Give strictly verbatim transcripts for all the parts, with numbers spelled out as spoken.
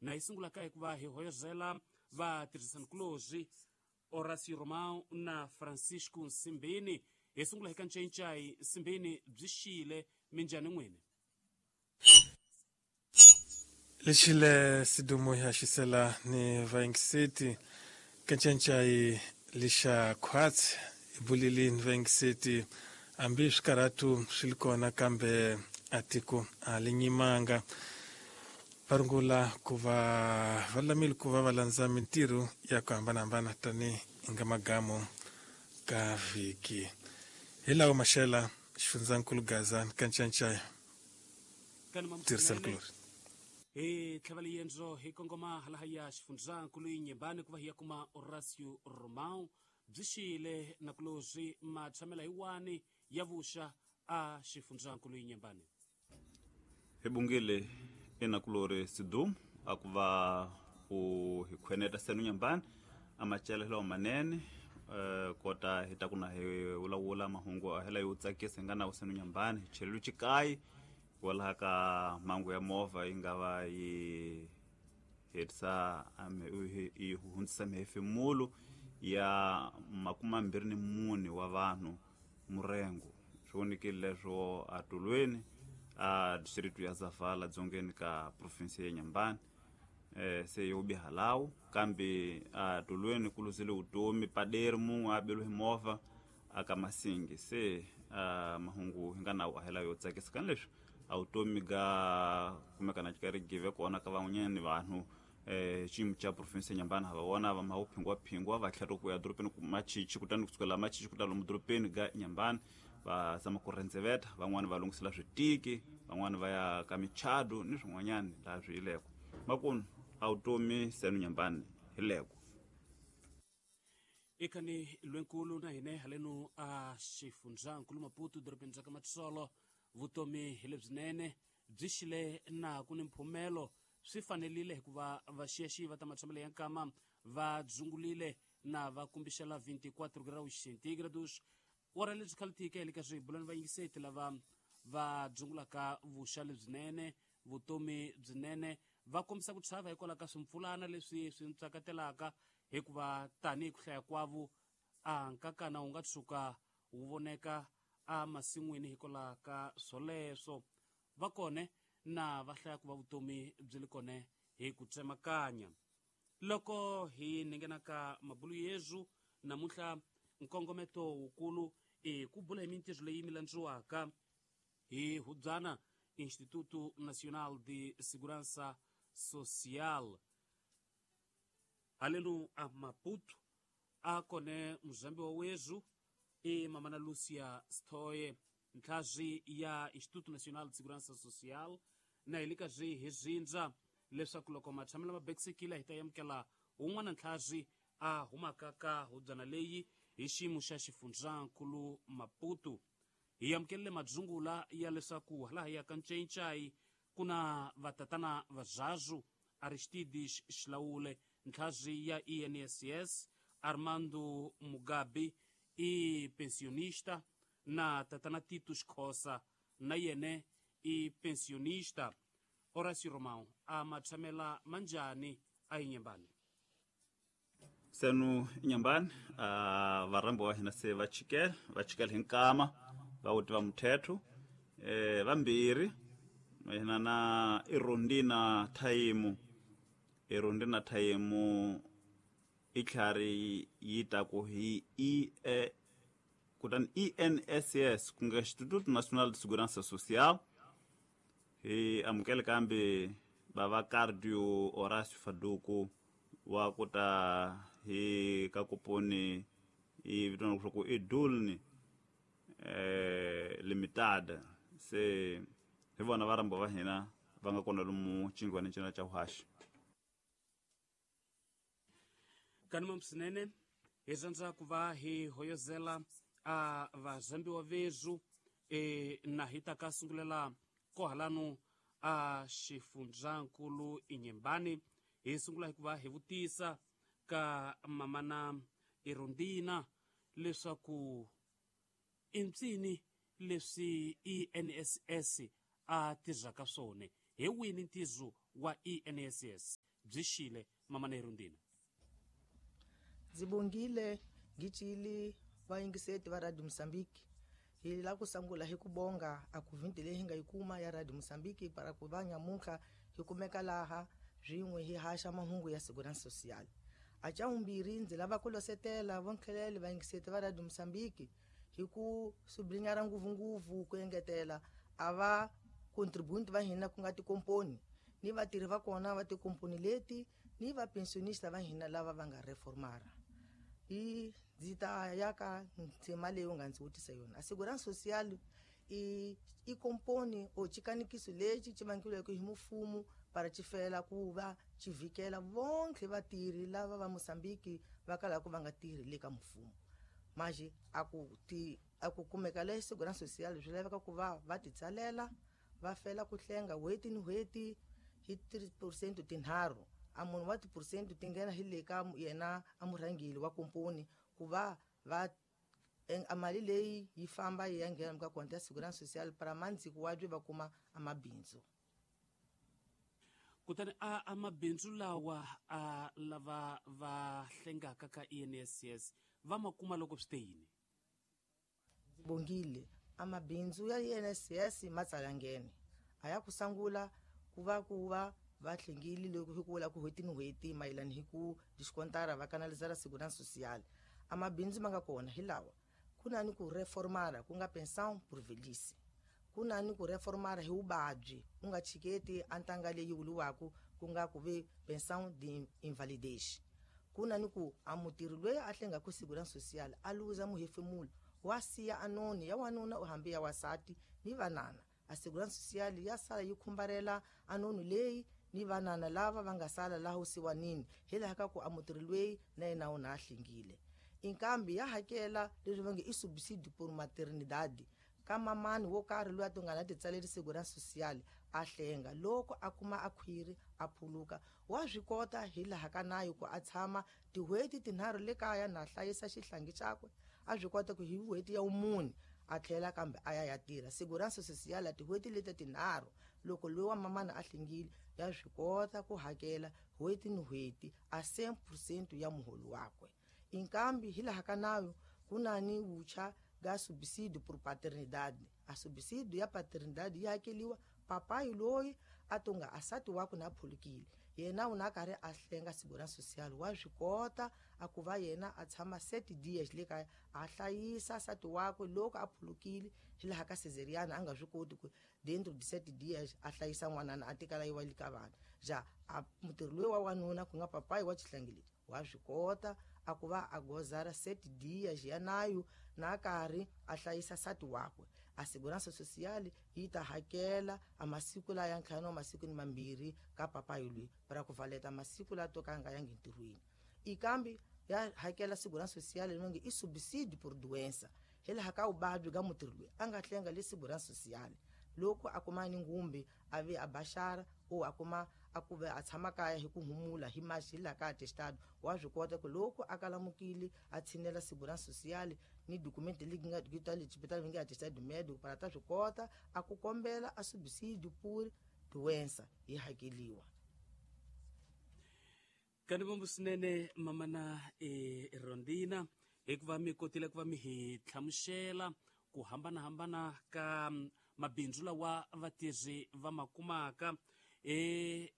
Na hi sungulaka hi ku va hi hoyozela vatirhisanikulorhi Horácio Romão na Francisco Nsimbini. Hi sungula hi ka Ncencai Nsimbini, byi xile minjhani n'wini? Lexile sidumo ya xisela ni vaingiseti Ncencai lixa khwatsi bulili ni vaingiseti hambi swikarhatu swi li kona kambe a tiko a li nyimanga. Va rungula ku va va lulamile ku va va landza mintirho ya ku hambanahambana tanihi nga magamu ka vhiki. Hi lawa maxela xifundzankulu Gaza ka Ncencai tirhisanikulorhi. Hi tlhava liyendzo hi kongoma halahaya xifundzankulu Inhambane ku va hi ya kuma Horácio Romão. Byi xile nakulorhi matshamela hi wani ya vuxa a xifundzankulu Inhambane. Hi bungile enakulorhi Sidumo a ku va u hi khweneta senu Inhambane a macelelo manene eh kota hi ta ku na hi vulavula mahungu a hela yo tsakisa hi nga na senu Inhambane hi chelelo xikayi kwalaha ka mhangu ya movha yi nga va yi hetisa yi hundzisa mihefemulo ya makume mambirhi ni mune wa vanhu murengo. Swi vonekile leswo atulweni a district ya Zavala dzongeni ka province ya Inhambane eh se yo biha lawo kambe atulweni ku luzile vutomi paderi mun'we a beliwe hi movha aka masingi. Se a mahungu hi nga na wa hela yo tsakisa kani leswi a vutomi ga kumeka na xikarhi give kona ka van'wanyana vanhu eh xiyimo xa province ya Inhambane ha va vona va ma phingwa phingwa va tlhela ku ya dorobeni ku machichi kutani kusukela machichi ku ta lomu dorobeni ga Inhambane va zama ku rendzeveta van'wani va lunghisela switiki van'wani va ya ka michado ni swin'wanyana laha swi yileko makunu a vutomi senu Inhambane hi leko. Ikani lwenkulu na hine haleno a xifundzankulu Maputo dorobeni ra ka Matsolo vutomi hi lebyinene byi xile na ku ni mphumelo swi fanelile hikuva vaxiyaxiyi va ta matshamelo ya nkama va dzungulile na va kumbixela vinte e quatro graus centígrados. Ora lebyi khalitike hi le ka swibulani vayingiseti lava va dzungulaka vuxa lebyinene vutomi byinene va kombisa ku chava hikwalaho ka swimpfulana leswi swi ntsakatelaka hikuva tanihi ku hlaya kwavo a nkakana wu nga tshuka wu voneka a masin'wini hikwalaho ka swoleswo. Va kone na va hlaya ku va vutomi byi li kone hi ku tsemakanya. Loko hi ninghena ka mabulu yezu namuntlha nkongometo wukulu i ku bula hi mintirho leyi mi landziwaka hi hubyana Instituto Nacional de Segurança Social. Haleno a Maputo a kone muzambi wa wezu i mamana Lucia Stoye ntlhazi ya Instituto Nacional de Segurança Social na hi le ka zwi hi zindza leswaku loko matshamelo ma bekisekile hi ta amukela wun'wana ntlhazi a humaka ka hubyana leyi hi xiyimo xa xifundzankulu Maputo. Hi amukelele madzungula ya leswaku halaha ya ka Ncencai ku na vatatana vazazu Aristides Xilawule ntlhazi ya I N S S Armando Mugabe i pensionista na tatana Titus Khosa na yene i pensionista. Horácio Romão a matshamela manjani a Inhambane. Senu Inhambane a varhambi wa hina se va chikela va chikela hi nkama va wuti va muthetho eh vambirhi hina na Irondina Thaimu. Irondina Thaimu i tlhari yi ta ku hi I E kutani I N S S ku nga Instituto Nacional de Segurança Social. Hi amukele kambe bava Cardio Horácio Faduku wa ku ta hi ka kuponi i vitaniwa leswaku i Dulni eh Limitada. Se hi vona varhambi va hina va nga kona lomu xingwani cina xa vuhaxi. Kanuma msinene hi rhandza ku va hi hoyozela a vazambiwa vezu e na hi ta ka sungulela kohalanu a xifundzankulu Inhambane. Hi sungula hi ku va hi vutisa ka mamana Irondina leswaku i mpsini leswi I N S S a tirhaka swona, hi wini ntirho wa I N S S? byi xile mamana Erundina. Ndzi bongile ngicili vayingiseti va Radio Mozambique hi la ku sungula hi ku bonga a ku vhindi leyi hi nga yi kuma ya Radio Mozambique para ku va nyamuntlha hi kumeka laha swin'we hi haxa mahungu ya Segurança Social. A xa vumbirhi ndzi lava ku losetela vonkhelele vayingiseti va Radio Mozambique hi ku sublinyara ngopfungopfu ku engetela a va contribuent va hina ku nga tikomponi ni vatirhi va kona va tikomponi leti ni va pensionista va hina lava va nga reformara. I ndzi ta ya ka ndzima leyi u nga ndzi vutisa yona. A Segurança Social i i komponi o xikanikiso lexi xi vangiweke hi mfumo para xi fela ku va xi vhikela vonke vatirhi lava va Mozambique va kalaka va nga tirhi le ka mfumo. Manje a ku ti a ku kumeka le Segurança Social swi laveka ku va va titsalela va fela ku hlenga n'hweti ni n'hweti hi three percent tinharhu. A munhu wa ti-percent ti nghena hi le ka yena a murhangeri wa komponi ku va va a mali leyi yi famba yi ya nghena ka konti ya Segurança Social para mandziko wa byi va kuma a mabindzu. Kutani a a mabindzu lawa a lava va hlengaka ka I N S S va ma kuma loko swi te yini? Bongile a mabindzu ya I N S S ma tsala nghene a ya ku sungula ku va ku va va hlengile loko hi ku vula ku n'hweti ni n'hweti mayelana hi ku diskontara va kanalizara Segurança Social. A mabindzu ma nga kona hi lawa: ku na ni ku reformara ku nga pensão por velhice, ku na ni ku reformara hi vuvabyi u nga chiketi a ntanga leyi vuriwaka ku nga ku ve pensão de invalidez, ku na ni ku a mutirhi loyi a hlengaka Segurança Social a luza muhefemulo wa siya anoni ya wanuna u hambi ya wasati ni vanana. A Segurança Social ya sala yi khumbarela anoni leyi ni vanana lava va nga sala laha usiwanini hi laha ka ku a mutirhi loyi na yena u na a hlengile. Inkambi ya hakela leswi va nge i subsidio por maternidade ka mamani wo karhi loyi a to nga na titsaleri Segurança Social a hlenga loko a kuma a khwiri a phuluka wa swi kota hi laha ka nayo ku a tshama tin'hweti tinharhu le kaya na hlayisa xihlangi xakwe a swi kota ku hi n'hweti ya vumune a tlhela kambe a ya ya tirha. Segurança Social tin'hweti leti tinharhu loko loyi wa mamana a hlengile ya swi kota ku hakela n'hweti ni n'hweti a cent percent ya muholo wakwe. Inkambi hi laha ka nayo ku na ni vucha ga subsidio por paternidade. A subsidio ya paternidade yi hakeliwa papayi loyi a tonga asati wakwe na phulukile yena u na karhi a hlenga Segurança Social wa swi kota a ku va yena a tshama seti dias le kaya a hlayisa sati wakwe loko a phulukile hi laha ka cesariana a nga swi koti ku dentro de sete dias a hlayisa n'wanana a tikala yi wa le ka vana ja a mutirhi loyi wa wanuna ku nga papayi wa xihlangi lexi wa swi kota a ku va a gozara sete dias ya nayo na karhi a hlayisa sati wakwe. A Segurança Social yi ta hakela a masiku la ya ntlhanu wa masiku ni mambirhi ka papayi loyi para ku valeta masiku la to ka nga yangi ntirhweni. Ikambi ya hakela Segurança Social leyi nge i subsidio por doença hi laha ka vuvabyi ka mutirhi loyi a nga hlenga le Segurança Social loko a kuma ni ngumbi a ve a baxara o a kuma a ku ve a tshama kaya hi ku humula hi maxi hi laha ka atestado wa swi kota ku loko a kalamukile a tshinela Segurança Social ni document leyi nga ta le xibedhlele va nge atestado médico para ta swi kota a ku kombela a subsidio por doença yi hakeliwa. Kanivombo swinene mamana e Rondina hikuva mi kotile ku va mi hi hlamusela ku hambanahambana ka mabindzu lawa vatirhi va ma kumaka. E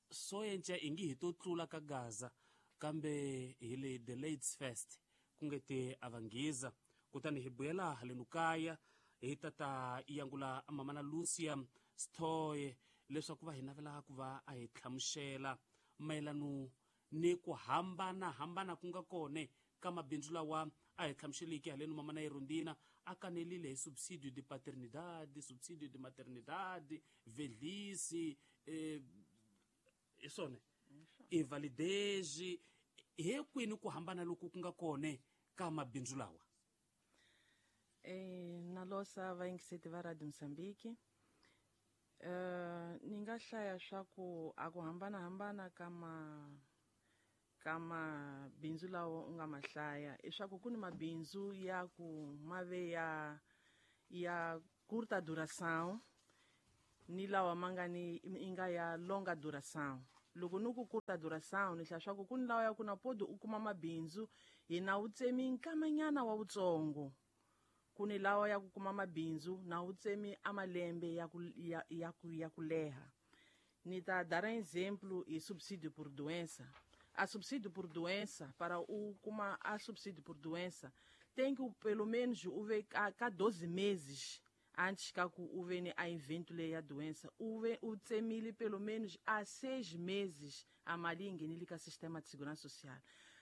so enca ingi hi to tlula ka Gaza kambe hi le the Ladies First ku nge te a va nghiza. Kutani hi buyela halenu kaya hi tata yangula mamana Lucia Stoye leswaku va hi navela ku va a hi hlamusela mayelano ni ku hambanahambana ku nga kone ka mabindzu lawa a hi hlamuseliki halenu mamana Erundina a kanelile hi subsidio de paternidade, subsidio de maternidade, velhice, eh, hi swona invalidez he kwini ku hambana loku ku nga kone ka mabindzu lawa. Eh, na losa vayingiseti va Radio Mozambique. Eh, ni nga hlaya swa ku a ku hambanahambana ka ma ka mabindzu lawa u nga ma hlaya i swa ku ku ni mabindzu ya ku ma ve ya ya curta duração ni lawa ma nga ni i nga ya longa duração. Loko ni ku curta duração ni hlaya swa ku ku ni lawa ya ku na podi u kuma mabindzu hi na wu tsemi nkamanyana wa wutsongo. Ku ni lawa ya ku kuma mabindzu na wu tsemi a malembe ya ku ya, ya ku ya ku leha. Ni ta dar um exemplo e subsídio por doença. A subsídio por doença, para o kuma a subsídio por doença, tem que pelo menos o ver a cada doze meses antes que o vene a evento leia a doença, o o tsemile pelo menos há seis meses a malingue nele ka sistema de segurança social.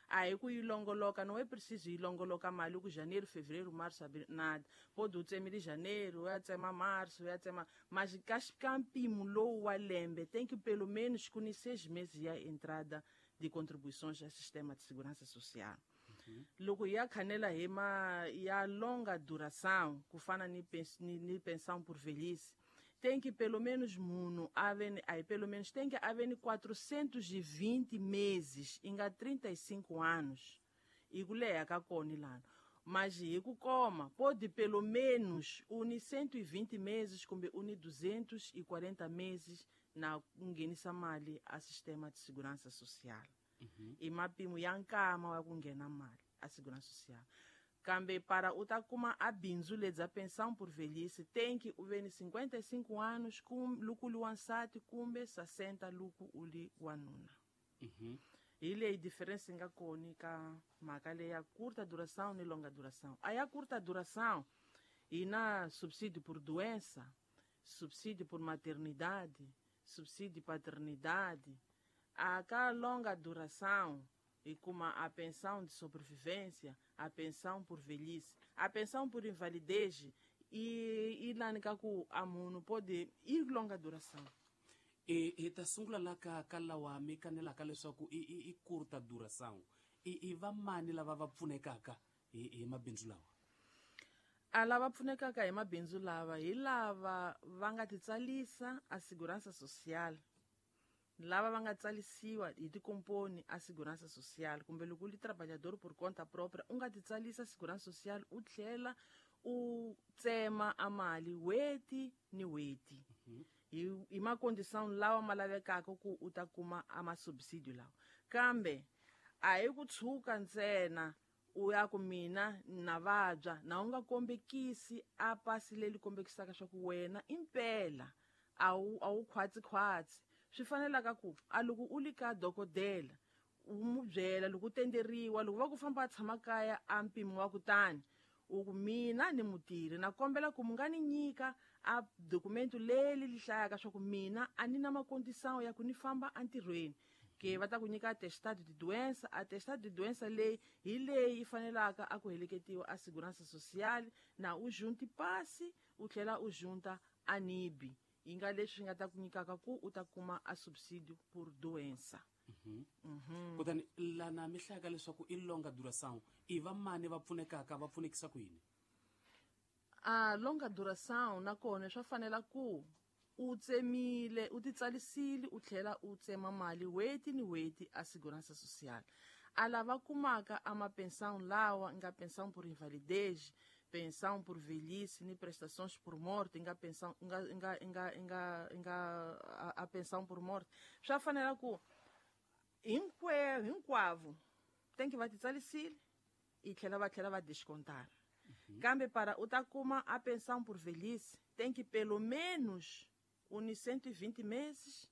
Aí ku ilongoloka não é preciso ilongoloka mali ku janeiro, fevereiro, março, abril, nada. Pode o tsemile janeiro, é tsema março, é tsema, mas campimo low lembe tem que pelo menos com seis meses a entrada de contribuições ao sistema de segurança social. Uhum. Loko ya canela hema ya longa duração, ku fana ni, pens, ni, ni pensão por velhice, tem que pelo menos muno haver, aí pelo menos tem que haver quatrocentos e vinte meses, inga trinta e cinco anos. E kuleya ka koni lano. Mas iku koma, pode pelo menos uni cento e vinte meses, kumbe uni duzentos e quarenta meses na ngenisa mali a sistema de segurança social. Uhum. E mapimo ya nkama wa kungena mali a segurança social. Kambe para utakuma a bindzu ledza pensão por velhice tem que uveni cinquenta e cinco anos kum luku luansati kumbe sessenta luku uli wanuna. Uhum. Ile diferença nga koni ka makale ya curta duração e longa duração. Aí a curta duração e na subsídio por doença, subsídio por maternidade, subsídio paternidade, a cá longa duração e como a pensão de sobrevivência, a pensão por velhice, a pensão por invalidez e e lá nikaku amuno pode ir longa duração. E e ta sungula la ka ka lawa mi kanela ka leswaku i i i curta duração. E e va mani lava va pfunekaka hi hi mabindzu lawa? A lava pfunekaka hi mabindzu lava hi lava va nga titsalisa a segurança social. Lava va nga tsalisiwa hi tikomponi a segurança social kumbe loko u li trabalhador por conta própria u nga titsalisa segurança social u tlhela u tsema a mali weti ni weti. Mm-hmm. Hi, hi makondição lawa ma lavekaka ku u ta kuma a masubsídio lawa. Kambe a hi ku tshuka ntsena u ya ku mina na vabya na u nga kombekisi a pasi leri kombekisaka swa ku wena impela a wu a wu khwatsi-khwatsi. Swi fanelaka ku a loko u li ka dokodela u mu byela loko u tenderiwa loko va ku famba a tshama kaya a mpimo wa kutani u ku mina ni mutirhi na kombela ku mu nga ni nyika a dokumento leri li hlayaka swa ku mina a ni na makondição ya ku ni famba entirhweni. Ke va ta ku nyika atestado de doença, atestado de doença leyi hi leyi yi fanelaka a ku heleketiwa a segurança social na u junti pasi u tlhela u junta a nibi. Yi nga leswi nga ta ku nyikaka ku u ta kuma a subsídio por doença. Mm-hmm. Mm-hmm. Kutani lana mi hlayaka leswaku i longa duração i va mani va pfunekaka va pfunekisa ku yini? A longa duração nakona swa fanela ku u tsemile u titsalisile u tlhela u tsema mali weti ni weti a segurança social. A lava kumaka a mapensão lawa nga pensão por invalidez, pensão por velhice ni prestações por morte, nga pensão nga nga nga nga, nga a, a pensão por morte. Swa fanela ku hinkwerhu hinkwavo tem que va titsalisile e tlhela va tlhela va descontar. Uhum. Kambe para u ta kuma a pensão por velhice tem que pelo menos uni cento e vinte meses,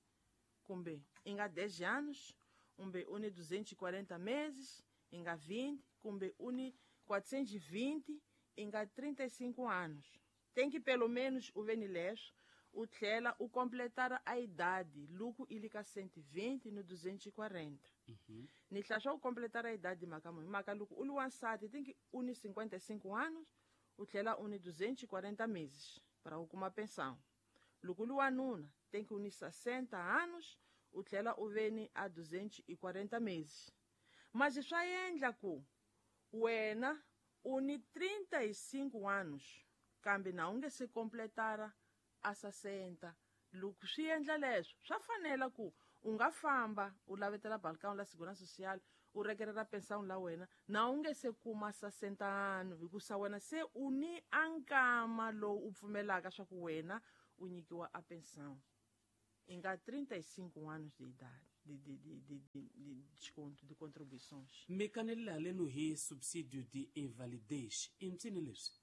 kumbe inga dez anos, kumbe uni duzentos e quarenta meses, inga vinte, kumbe uni quatrocentos e vinte, inga trinta e cinco anos. Tem que pelo menos o venileixo, o tlhela o completar a idade, luku ilika cento e vinte no duzentos e quarenta. Uhum. Ni tlhela o completar a idade makamu, maka luku uli wansati tem que uni cinquenta e cinco anos, o tlhela uni duzentos e quarenta meses para o kuma pensão. Luku uli wanuna tem que unir sessenta anos, o tlhela o veni a duzentos e quarenta meses. Mas isso aí endla ku wena uni trinta e cinco anos, kambe na unge se completara a sessenta. Loko swi endla leswo swa fanela ku u nga famba u lavetela balcão la segurança social u rekerera pensão la wena na u nge se kuma sessenta ano hikusa wena se u ni a nkama lowu u pfumelaka swa ku wena u nyikiwa a pensão i nga trinta e cinco anos de idade. de, de, de, de, de, de desconto, de contribuições. Mi kanelile haleno hi subsídio de invalidez. I mpsini leswi?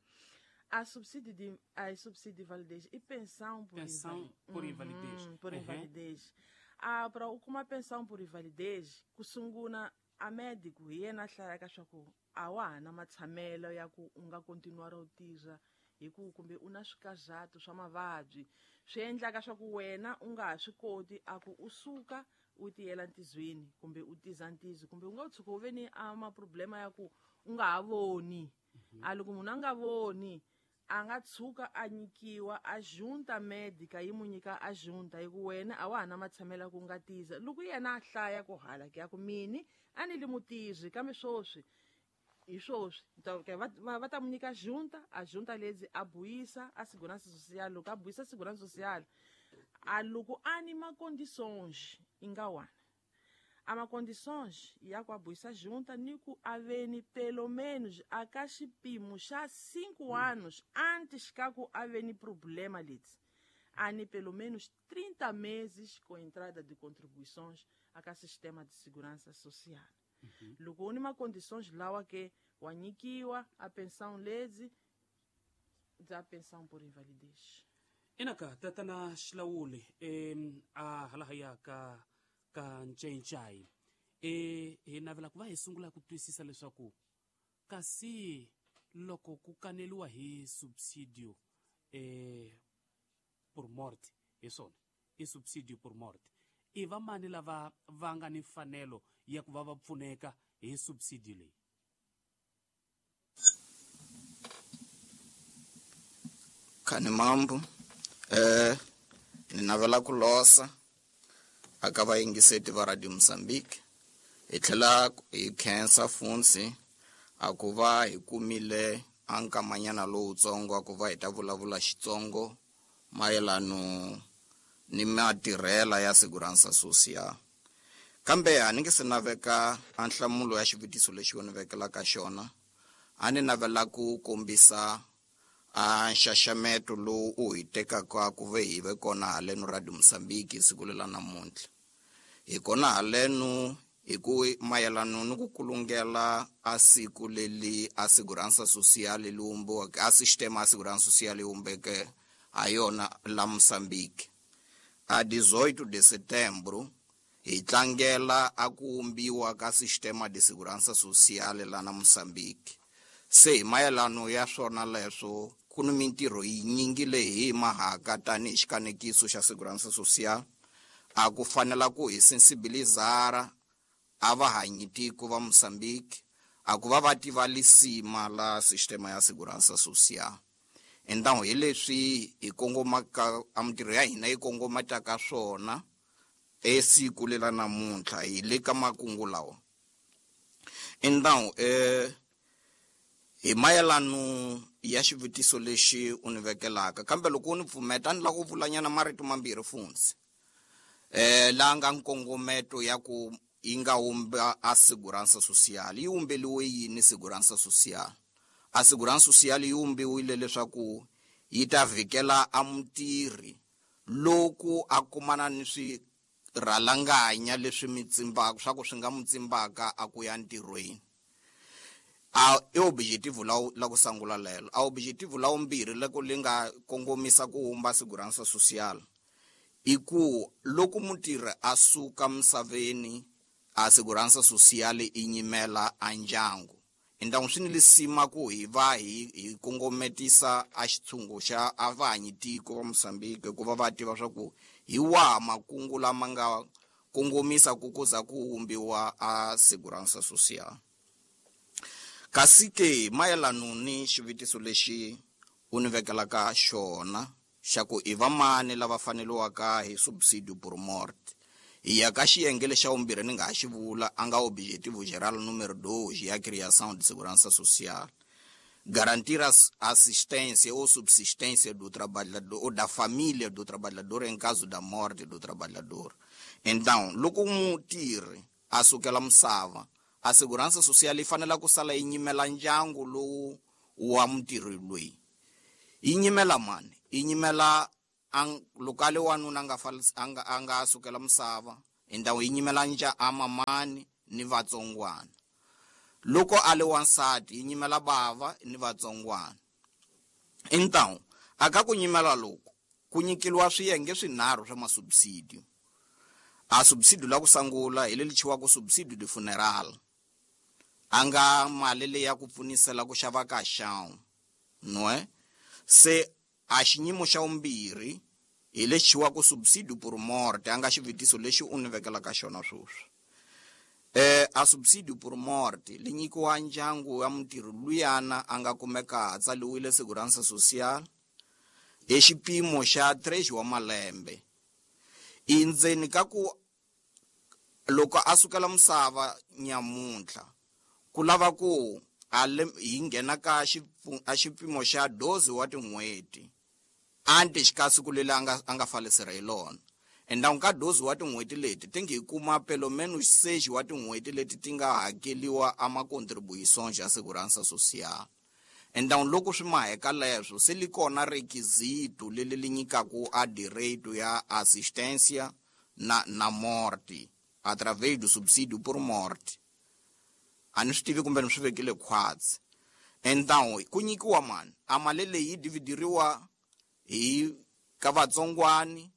A subsídio de, a subsídio de invalidez e pensão por Pensão invali- por invalidez. Uhum, por Uhum. invalidez. Ah, para u kuma pensão por invalidez, ku sungula a médico hi yena a hlayaka swa ku a wa ha na matshamelo ya ku u nga continuar u tirha hi ku kumbe u na swikazato swa mavabyi swi endlaka swa ku wena u nga ha swi koti a ku u suka u tiyela ntizweni kumbe u tiza ntizo kumbe u nga tshuka u ve ni a maproblema ya ku u nga ha voni. A loko munhu a nga voni a nga tshuka a nyikiwa a junta médica yi mu nyika a junta hi ku wena a wa ha na matshamelo ya ku nga tiza. Loko yena a hlaya ku hala ke ya ku mini a ni li mutirhi kambe swoswi hi swoswi ta ke va va va ta mu nyika junta, a junta lezi a buyisa a segurança social. Loko a buyisa segurança social a loko a ni ma condições i nga wana a ma condições ya ku a buyisa junta ni ku a ve ni pelo menos a ka xipimo xa cinco anos antes ka ku a ve ni problema leti a ni pelo menos trinta meses com entrada de contribuições a ka sistema de segurança social. Loko u ni ma condições lawa ke wa nyikiwa a pensão lezi bya pensão por invalidez. Inaka tatana Xilawuli em a hala haya ka ka Ncencai e hi navela ku va hi sungula ku twisisa leswaku kasi loko ku kaneliwa hi subsidio eh por morte hi swona i subsidio por morte i va mani lava va nga ni mfanelo ya ku va va pfuneka hi subsidio leyi? Khani mambo eh ni navela ku losa aka vayingiseti va Radio Mozambique hi tlhela hi khensa Funsi a ku va hi kumile a nkamanyana lowutsongo a ku va hi ta vulavula Xitsongo mayelano ni matirhela ya Segurança Social. Kambe a ni nge se naveka a nhlamulo ya xivutiso lexi u ni vekelaka xona, a ni navela ku kombisa a nxaxameto lowu u hi tekaka ku ve hi ve kona haleno Radio Mozambique siku lela namuntlha. Hi kona haleno hi ku mayelano ni ku kulungela a siku leli a Segurança Social li wumbiweke, a sistema a Segurança Social li wumbeke ha yona la Mozambique. A dezoito de setembro hi tlangela a ku wumbiwa ka sistema de Segurança Social la na Mozambique. Se hi mayelano ya swona leswo ku ni mintirho yinyingi leyi hi mahaka tanihi xikanekiso xa Segurança Social a ku fanela ku hi sensibilizara a vahanyi tiko va Mozambique a ku va va tiva lisima la sistema ya Segurança Social. Então hi leswi hi kongomaka a mintirho ya hina yi kongomataka swona esiku lela namuntlha hi le ka makungu lawa. Então eh hi mayelano ya xivutiso lexi u ni vekelaka, kambe loko u ni pfumeta ni lava ku vulanyana marito mambirhi Funsi eh la nga nkongometo ya ku yi nga wumba a Segurança Social. Yi wumbeliwe yini Segurança Social? A Segurança Social yi wumbiwile leswaku yi ta vhikela a mutirhi loko a kumana ni swirhalanganya leswi mitsimbaka swa ku swi nga mutsimbaka a ku ya ntirhweni. A i objetivo la la ku sungula lelo. A objetivo la vumbirhi loko li nga kongomisa ku wumba Segurança Social i ku loko mutirhi a suka misaveni a Segurança Social i nyimela a ndyangu. Então swi ni lisima ku hi va hi hi kongometisa a xitshungu xa a vahanyi tiko va Mozambique ku va va tiva swa ku hi waha makungu lama nga kongomisa ku kuza ku wumbiwa a Segurança Social. Kasi ke mayelano ni xivutiso lexi u ni vekelaka xona xa ku i va mani lava faneliwaka hi subsidio por morte, hi ya ka xiyenge lexa vumbirhi ni nga ha xi vula a nga objetivo geral número dois ya criação de segurança social, garantir a assistência ou subsistência do trabalhador ou da família do trabalhador em caso da morte do trabalhador. Então loko mutirhi a sukela misava, a segurança social yi fanele ku sala yi nyimela ndyangu lowu wa mutirhi loyi. Yi nyimela mani? Yi nyimela loko a le wanuna a nga a nga a nga sukela misava Então yi nyimela nja a mamani ni vatsongwana. Loko a le wansati yi nyimela bava ni vatsongwana. Então aka ku nyimela loko ku nyikeliwa swiyenge swinharhu swa masubsidio. A subsidio la ku sangula hi leli chiwaka subsidio de funeral. Anga mali leyi ya ku pfunisela ku xava ka xawu. Nwe se a xinyimo xa vumbirhi hi lexi chiwaka subsidio por morte, anga xivutiso lexi u ni vekelaka xona sweswi. Eh a subsidio por morte li nyikiwa ndyangu wa mutirhi luyana a nga kumeka a tsaliwile Segurança Social hi xipimo xa três wa malembe. Endzeni ka ku loko a sukela misava nyamuntlha ku lava ku a hi nghena ka a xipimo xa doze wa tin'hweti antes ka siku leri a nga a nga falesera hi lona. Então ka doze wa tin'hweti leti ti nge kuma pelo menos seis wa tin'hweti leti ti nga hakeliwa a ma-contribuições ya Segurança Social. Então loko swi maheka leswo se li kona requisito leli li nyikaku a direito ya assistência na, na morte através do subsídio por morte. A ni swi tivi kumbe ni swi vekile khwatsi. Então ku nyikiwa mani a mali leyi yi dividiriwa hi ka vatsongwani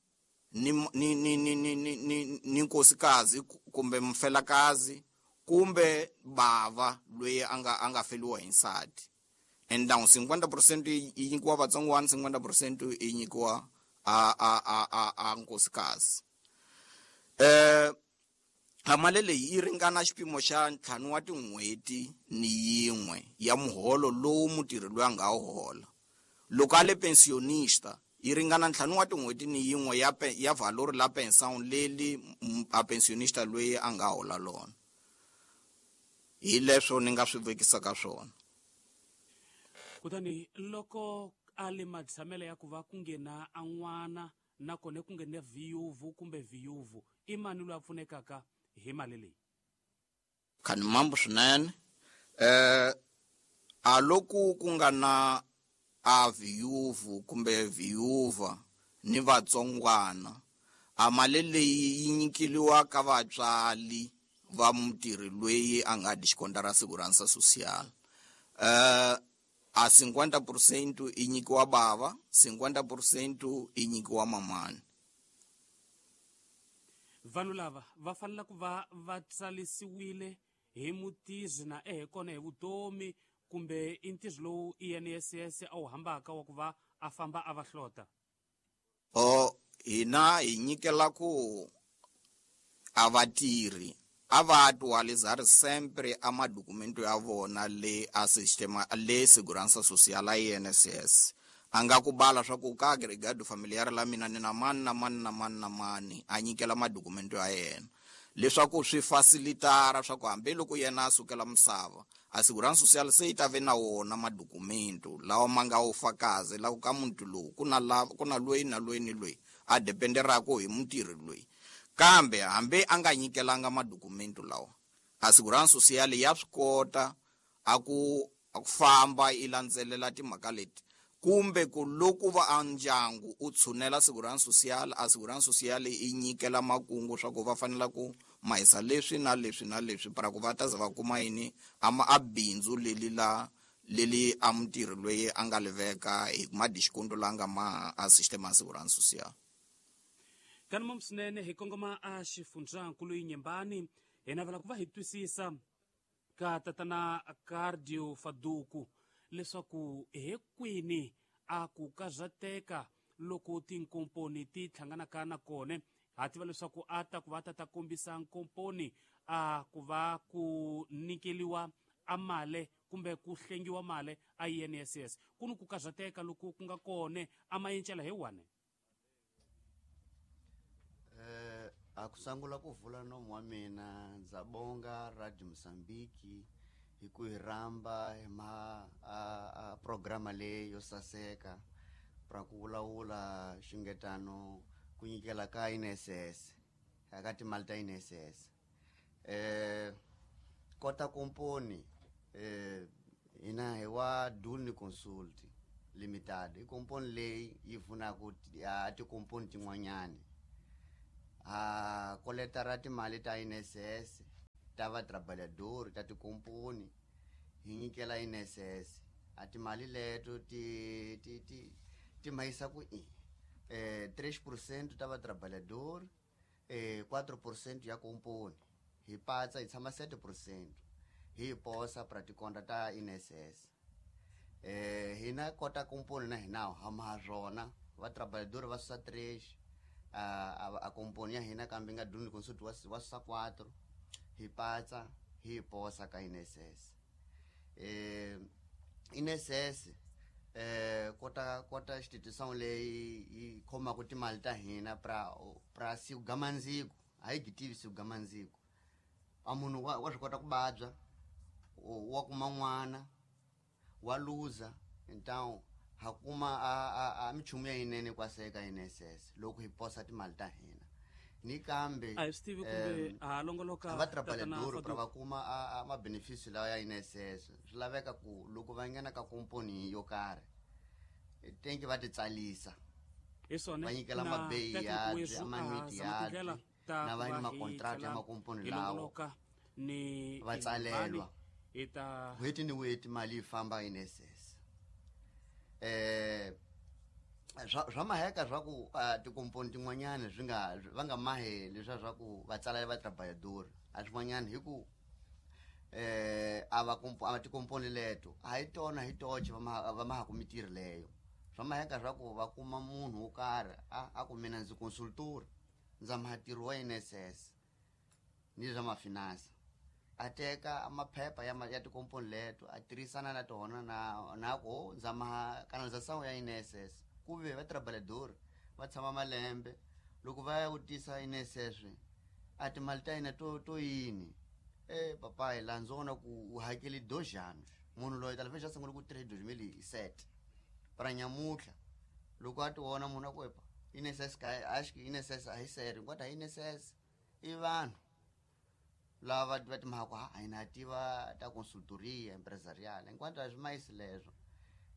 ni ni ni ni ni ni ni ni nkosikazi kumbe mfelakazi kumbe bava loyi a nga a nga feliwa hi nsati. Então cinquenta por cento yi nyikiwa vatsongwana, cinquenta por cento yi nyikiwa a a a a a nkosikazi. Eh a mali leyi yi ringana xipimo xa ntlhanu wa tin'hweti ni yin'we ya muholo lowu mutirhi loyi a nga wu hola. Loko a le pensionista yi ringana ntlhanu wa tin'hweti ni yin'we ya ya valor la pensão leli a pensionista loyi a nga hola lona. Hi leswo ni nga swi vekisaka swona. Kutani loko a le matshamelo ya ku va ku nghena a n'wana nakona ku nghena viyuvu kumbe viyuvu, i mani loyi a pfunekaka hi mali leyi? Khani mambo swinene. Eh a loko ku nga na a viyuvu kumbe viyuva ni vatsongwana, a mali leyi yi nyikeliwa ka vatswali va mutirhi loyi a nga descontara Segurança Social. Eh a cinquenta por cento yi nyikiwa bava, cinquenta por cento yi nyikiwa mamani. Vanhu lava va fanele ku va va tsalisiwile hi mutizi na ehe kona hi vutomi kumbe i ntirho lowu I N S S a wu hambaka wa ku va a famba a va hlota? O hina hi nyikela ku a vatirhi a va atualizar sempre a madokumento ya vona le a sistema le Segurança Social a I N S S. A nga ku bala swa ku ka agregado familiar la mina ni na mani na mani na mani na mani, a nyikela madokumento ya yena leswaku swi facilitara swa ku hambi loko yena a sukela misava a Segurança Social se yi ta ve na wona madokumento lawa ma nga wu fakazi la ku ka muti lowu ku na la ku na loyi na loyi ni loyi a dependeraka hi mutirhi loyi. Kambe hambi a nga nyikelanga madokumento lawa, a Segurança Social ya swi kota a ku a ku famba yi landzelela timhaka leti kumbe ku loko va a ndyangu u tshunela Segurança Social, a Segurança Social yi nyikela makungu swa ku va fanela ku mahisa leswi na leswi na leswi para ku va ta za va kuma yini a ma a bindzu leli la leli a mutirhi loyi a nga liveka hi madiskonto la nga ma a sistema ya Segurança Social. Kani mom swinene hi kongoma a xifundzankulu Inhambane hi navela ku va hi twisisa ka tatana Cardio Faduku leswaku hi kwini a ku kazateka loko tinkomponi ti hlanganaka na kona. Ha tiva leswaku a ta ku va ta ta kombisa nkomponi a ku va ku nyikeliwa a mali kumbe ku hlengiwa mali a I N S S. Ku ni ku kazateka loko ku nga kona a mayencela hi wani. Eh a ku sangula ku vula nomu wa mina ndza bonga Radio Mozambique hi ku hi rhamba hi ma a, a programa leyi yo saseka pra ku vulavula xungetano ku nyikela ka I N S S aka timali ta I N S S. Eh kota komponi eh hina hi wa Dulni Consult Limited, i komponi leyi yi pfunaka a tikomponi tin'wanyani. Ha koleta ra timali ta I N S S ta va trabalhador ta tikomponi hi nyikela I N S S a timali leto ti ti ti ti mahisa ku i eh três por cento ta va trabalhador eh quatro por cento ya komponi hi patsa hi tshama sete por cento hi posa pra tikonta ta I N S S eh hina kota komponi na hina ha ma rona va trabalhador va susa três a a komponi ya hina kambe nga duni consult wa wa susa quatro hi patsa hi posa ka I N S S eh I N S S eh kota kota institution leyi yi khoma ku timali ta hina pra pra siku gamandziko a yi gitivi siku gamandziko a munhu wa wa swi kota ku babya wa kuma n'wana wa luza então ha kuma a a a michumu ya yinene kwaseka I N S S loko hi posa timali ta hina ni kambe a hi swi tivi kumbe ha longoloka va trabalhador pra va kuma a ma benefício lawa ya I N S S swi laveka ku loko va nghena ka komponi yo karhi tenki va ti tsalisa hi swona va nyikela mabeyi ya amanwiti ya na va ni makontrakt ya makomponi lawo ni va tsalelwa ita n'hweti ni n'hweti mali yi famba I N S S eh swa maheka swa ku tikomponi tin'wanyana swi nga va nga mahe leswiya swa ku va tsala va trabalhador a swin'wanyana hi ku eh a va a tikomponi leto a hi tona hi toxe va ma va mahaku mitirho leyo swa maheka swa ku va kuma munhu wo karhi a a ku mina ndzi consultor ndza maha ntirho wa I N S S ni swa mafinansa a teka maphepha ya ya tikomponi leto a tirhisana na tona na na ku ndza maha canalização ya I N S S ku ve va trabalhador va tshama malembe loko va ya vutisa I N S S a timali ta hina to to yini eh papai la ndzi vona ku u hakeli dois anos munhu loyi talvez já sungule ku tirha hi dois mil e sete para nyamutlha loko a ti vona munhu a ku epa I N S S ka acho que I N S S a hi sério enquanto a I N S S i vanhu lava va timhaka ha a hina tiva ta consultoria empresarial enquanto a swi mayisi leswo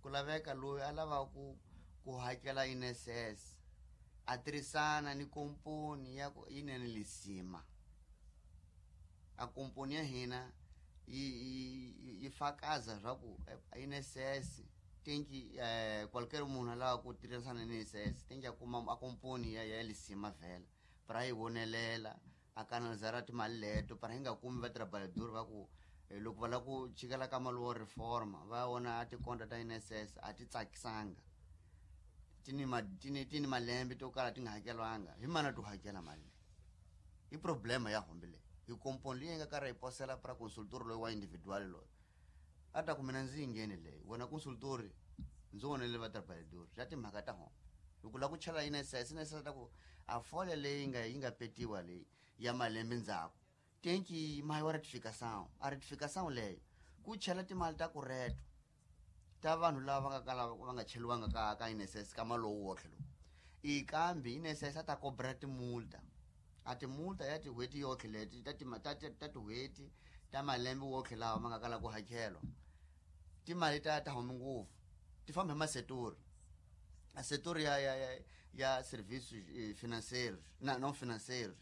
ku laveka loyi a lavaka ku ku hakela I N S S a tirhisana ni komponi ya ku yinene lisima a komponi ya hina yi yi fakaza swa ku I N S S tenki eh qualquer munhu a lava ku tirhisana ni I N S S tenki a kuma a komponi ya ya lisima vhela para yi vonelela a canalizara timali leto para hi nga kumi va trabalhador va ku loko va lava ku chikela ka mali wo reforma va vona a tikonta ta I N S S a ti tsakisanga tini ma tini tini malembe to kala ti nga hakelwanga hi mana to hakela mali leyi i problema ya hombe leyi hi komponi leyi nga karhi yi posela para consultor loyi wa individual loyi a ta ku mina ndzi yi ngheni leyi wena consultor ndzi vonele va trabalhador swa timhaka ta hombe loko lava ku chela I N S S I N S S ta ku a folha leyi nga yi nga petiwa leyi ya malembe ndzhaku tenki mahi wa ratificação a ratificação leyo ku chela timali ta kureto ta vanhu lava va nga kala va nga cheliwanga ka ka I N S S ka malowu wotlhe lowu i kambe I N S S a ta kobra timulta a timulta ya tin'hweti yotlhe leti ta ta ta tin'hweti ta malembe wotlhe lawa ma nga kala ku hakelwa timali ta ta humi ngopfu ti famba hi masetori a setori ya ya ya ya serviços financeiros na não financeiros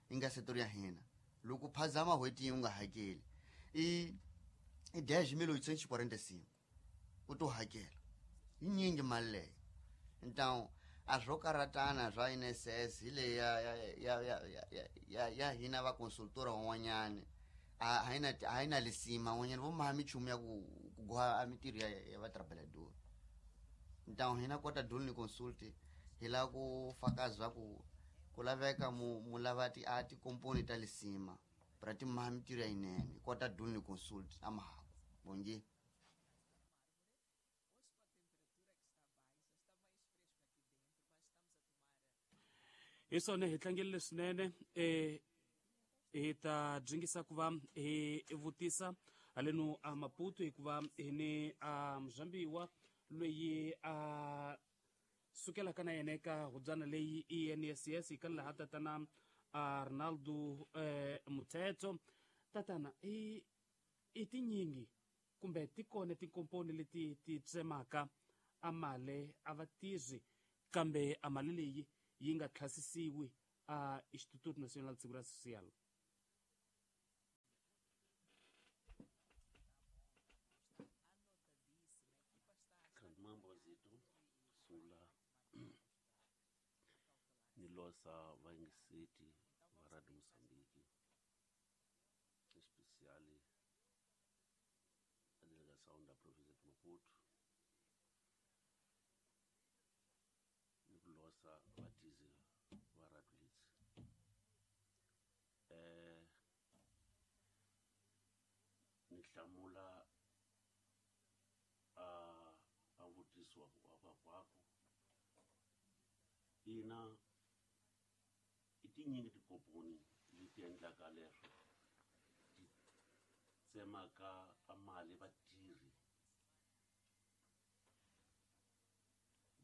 yi nga setori ya hina loko phazama n'hweti yi u nga hakeli i i dez mil oitocentos e quarenta e cinco u to hakela yi nyingi mali leyo então a swo karatana swa I N S S hi leyi ya ya ya ya ya ya hina va consultora van'wanyani a a yi na a yi na lisima van'wanyani vo maha michumu ya ku ku goha a mitirho ya ya va trabalhador então hina kota duni consult hi lava ku fakaza ku ku laveka mu mu lava ti a tikomponi ta lisima pra ti maha mitirho ya yinene kota duni consult a mahaku bom dia. Hi swona hi tlangerile swinene eh hi ta dyingisa ku va hi vutisa haleno a Maputo hikuva hi ni a muzambiwa loyi a sukelaka na yena eka hubyana leyi I N S S hi ka laha tatana Arnaldo eh, Muthetho. Tatana i i tinyingi kumbe ti kona tikomponi leti ti tsemaka a mali a va tirhi kambe a mali leyi yi nga tlhasisiwi a Instituto Nacional de Segurança Social. Mambo zethu sungula ni losa vayingiseti va Radio Mozambique, especially a delegação da província de Maputo, ni ku losa vatizi va Radio Litsi. Eh ni hlamula a a vutiso wa wa kwako ina i tinyingi tikomponi leti endlaka leswo ti tsemaka a mali vatirhi,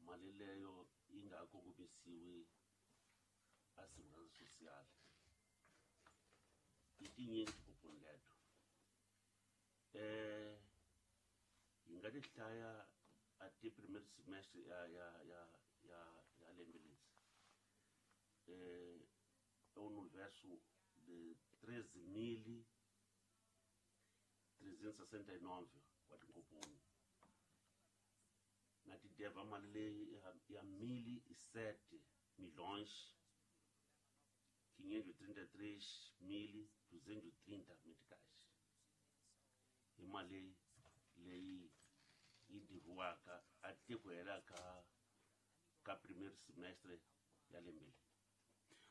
mali leyo yi nga ha kongomisiwi a segurança social. I tinyingi tikomponi leto eh hi nga ti hlaya a ti primeiro semestre ya ya ya ya ya lembe leri eh é um universo de treze mil trezentos e sessenta e nove wa tinkomponi na ti deva mali leyi ya mil e sete milhões quinhentos e trinta e três mil duzentos e trinta meticais hi mali leyi yi diviwaka a te ku hela ka ka primeiro semestre ya lembe leri.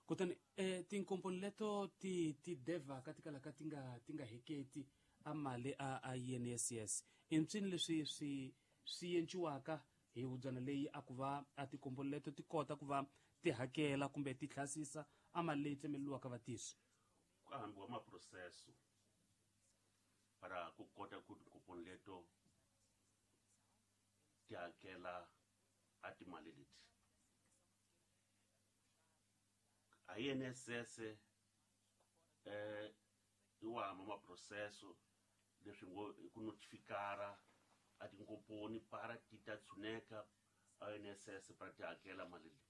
Kutani eh, tinkomponi leto ti ti devaka ti kalaka ti nga ti nga heketi a mali a a I N S S i mpsini leswi swi swi enciwaka hi hubyana leyi a ku va a tikomponi leto ti kota ku va ti hakela kumbe ti hlasisa a mali leyi tsemeleliwaka vatirhi. Ku hambiwa maproseso para ku kota ku tinkomponi leto ti hakela a timali leti. A I N S S eh i wa hamba maproseso leswi ngo i ku notifikara a tinkomponi para ti ta tshuneka a I N S S para ti hakela mali leyi,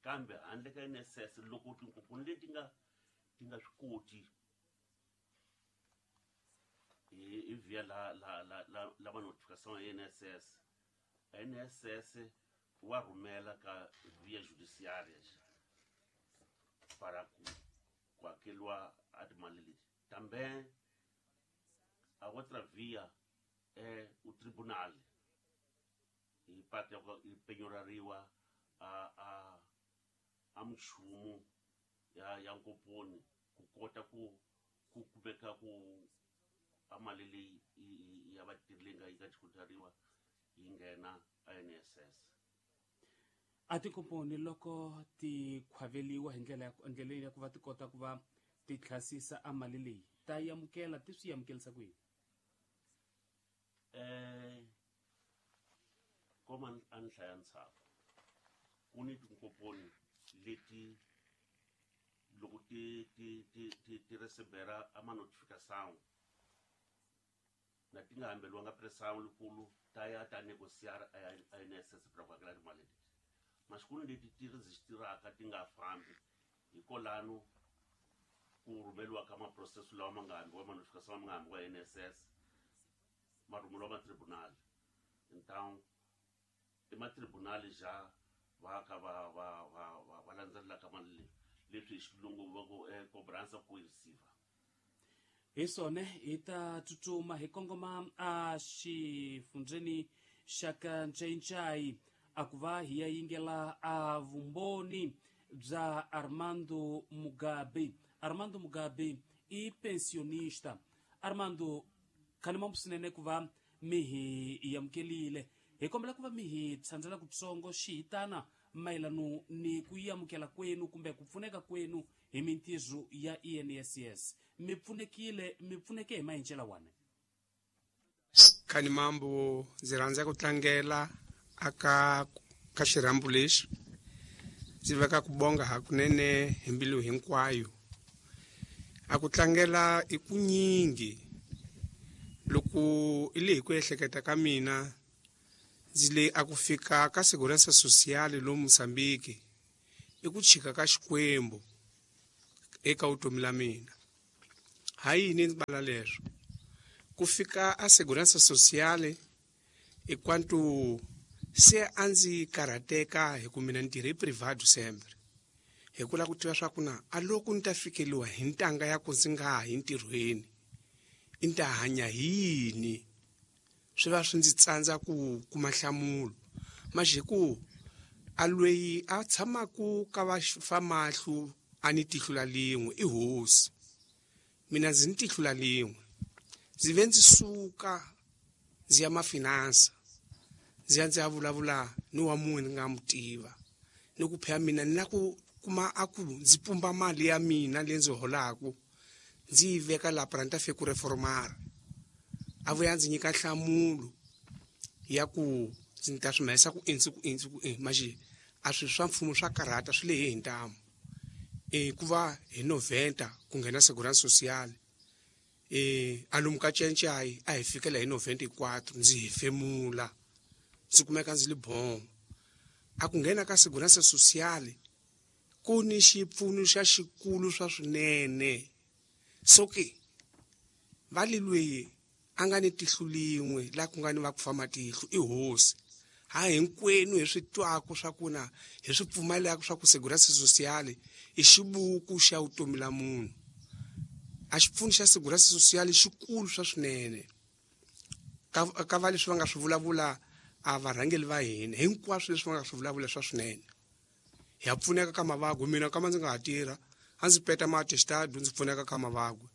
kambe handle ka I N S S loko tinkomponi leti nga ti nga swi koti hi via la la la la la va notificação ya I N S S, a I N S S wa rhumela ka via judiciária para ku ku hakeriwa a timali leti. Também a outra via é o tribunal hi parte ya ku yi penyorariwa a a a minchumu ya ya nkomponi ku kota ku ku kumeka ku a mali leyi ya vatirhi leyi nga yi nga xikotariwa yi nghena a I N S S. A tinkomponi loko ti khwaveliwa hi ndlela ya ndlela ya ku va ti kota ku va ti hlasisa a mali leyi ta yi amukela ti swi amukelisa ku yini? Eh koma a ni hlaya ntshaku ku ni tinkomponi leti loko ti ti ti ti ti recebera a ma notificação na ti nga hambeliwanga pressão likulu ta ya ta negociar a I N S S para ku hakela timali leti. Masiku leti ti registraka ti nga fambi hikolano ku rhumeriwa ka maproseso lawa ma nga hambiwa ma notificação ma nga hambiwa I N S S ma rhumeriwa ma tribunal. Então i ma tribunal já va ka va va va va va landzelelaka mali leyi leswi hi xilungu va ku cobrança coerciva. Hi swona hi ta tsutsuma hi kongoma a xifundzeni xa ka Ncayincai a ku va hi ya yingela a vumbhoni bya Armando Mugabe. Armando Mugabe i pensionista. Armando, khani mambo swinene ku va mi hi amukelile. Hi kombela ku va mi hi tshandzela kutsongo xihitana mayelano ni ku yi amukela kwenu kumbe ku pfuneka kwenu hi mintirho ya I N S S. Mi pfunekile, mi pfuneke hi maendlelo wani? Khani mambo, ndzi rhandza ku tlangela aka ka xirhambo lexi ndzi veka ku bonga hakunene hi mbilu hinkwayo. A ku tlangela i ku nyingi loko i le hi ku ehleketa ka mina ndzi le a ku fika ka Segurança Social lo Mozambique i ku chika ka Xikwembu. eka vutomi la mina. Ha yini ndzi bala leswo? Ku fika a Segurança Social enquanto se a ndzi karhateka hi ku mina ni tirhe privado sempre. Hi ku lava ku tiva swa ku na a loko ni ta fikeliwa hi ntanga ya ku ndzi nga ha yi ntirhweni, i ni ta hanya hi yini? Swi va swi ndzi tsandza ku kuma nhlamulo. Manje ku a loyi a tshamaku ka va fa mahlo a ni tihlo la lin'we i hosi. Mina ndzi ni tihlo la lin'we. Ndzi ve ndzi suka ndzi ya mafinansa, ndzi ya ndzi ya vulavula ni wa munhu ni nga mu tiva. Ni ku phela mina ni la ku kuma a ku ndzi pumba mali ya mina leyi ndzi holaku ndzi yi veka laha para ni ta fika ku reformara. A vuya ndzi nyika nhlamulo ya ku ndzi ta swi humesa ku endzi ku endzi ku endzi. Manje a swilo swa mfumo swa karhata swi lehe hi ntamu. E ku va hi noventa ku nghena Segurança Social. E a lomu ka Cencai a hi fikela hi noventa e quatro ndzi hefemula ndzi kumeka ndzi li bon. A ku nghena ka Segurança Social ku ni xipfuno xa xikulu swa swinene. So ke va li loyi a nga ni tihlo lin'we la ku nga ni va ku fa matihlo i hosi. Ha hinkwenu hi swi twaku swa ku na hi swi pfumelaka swa ku Segurança Social i xibuku xa vutomi la munhu. A xipfuno xa Segurança Social xikulu swa swinene. Ka ka va leswi va nga swi vulavula a varhangeli va hina hinkwaswo leswi va nga swi vulavula swa swinene. Hi ya pfuneka ka mavabyi. Mina kama ndzi nga ha tirha a ndzi peta ma-attestado ndzi pfuneka ka mavabyi.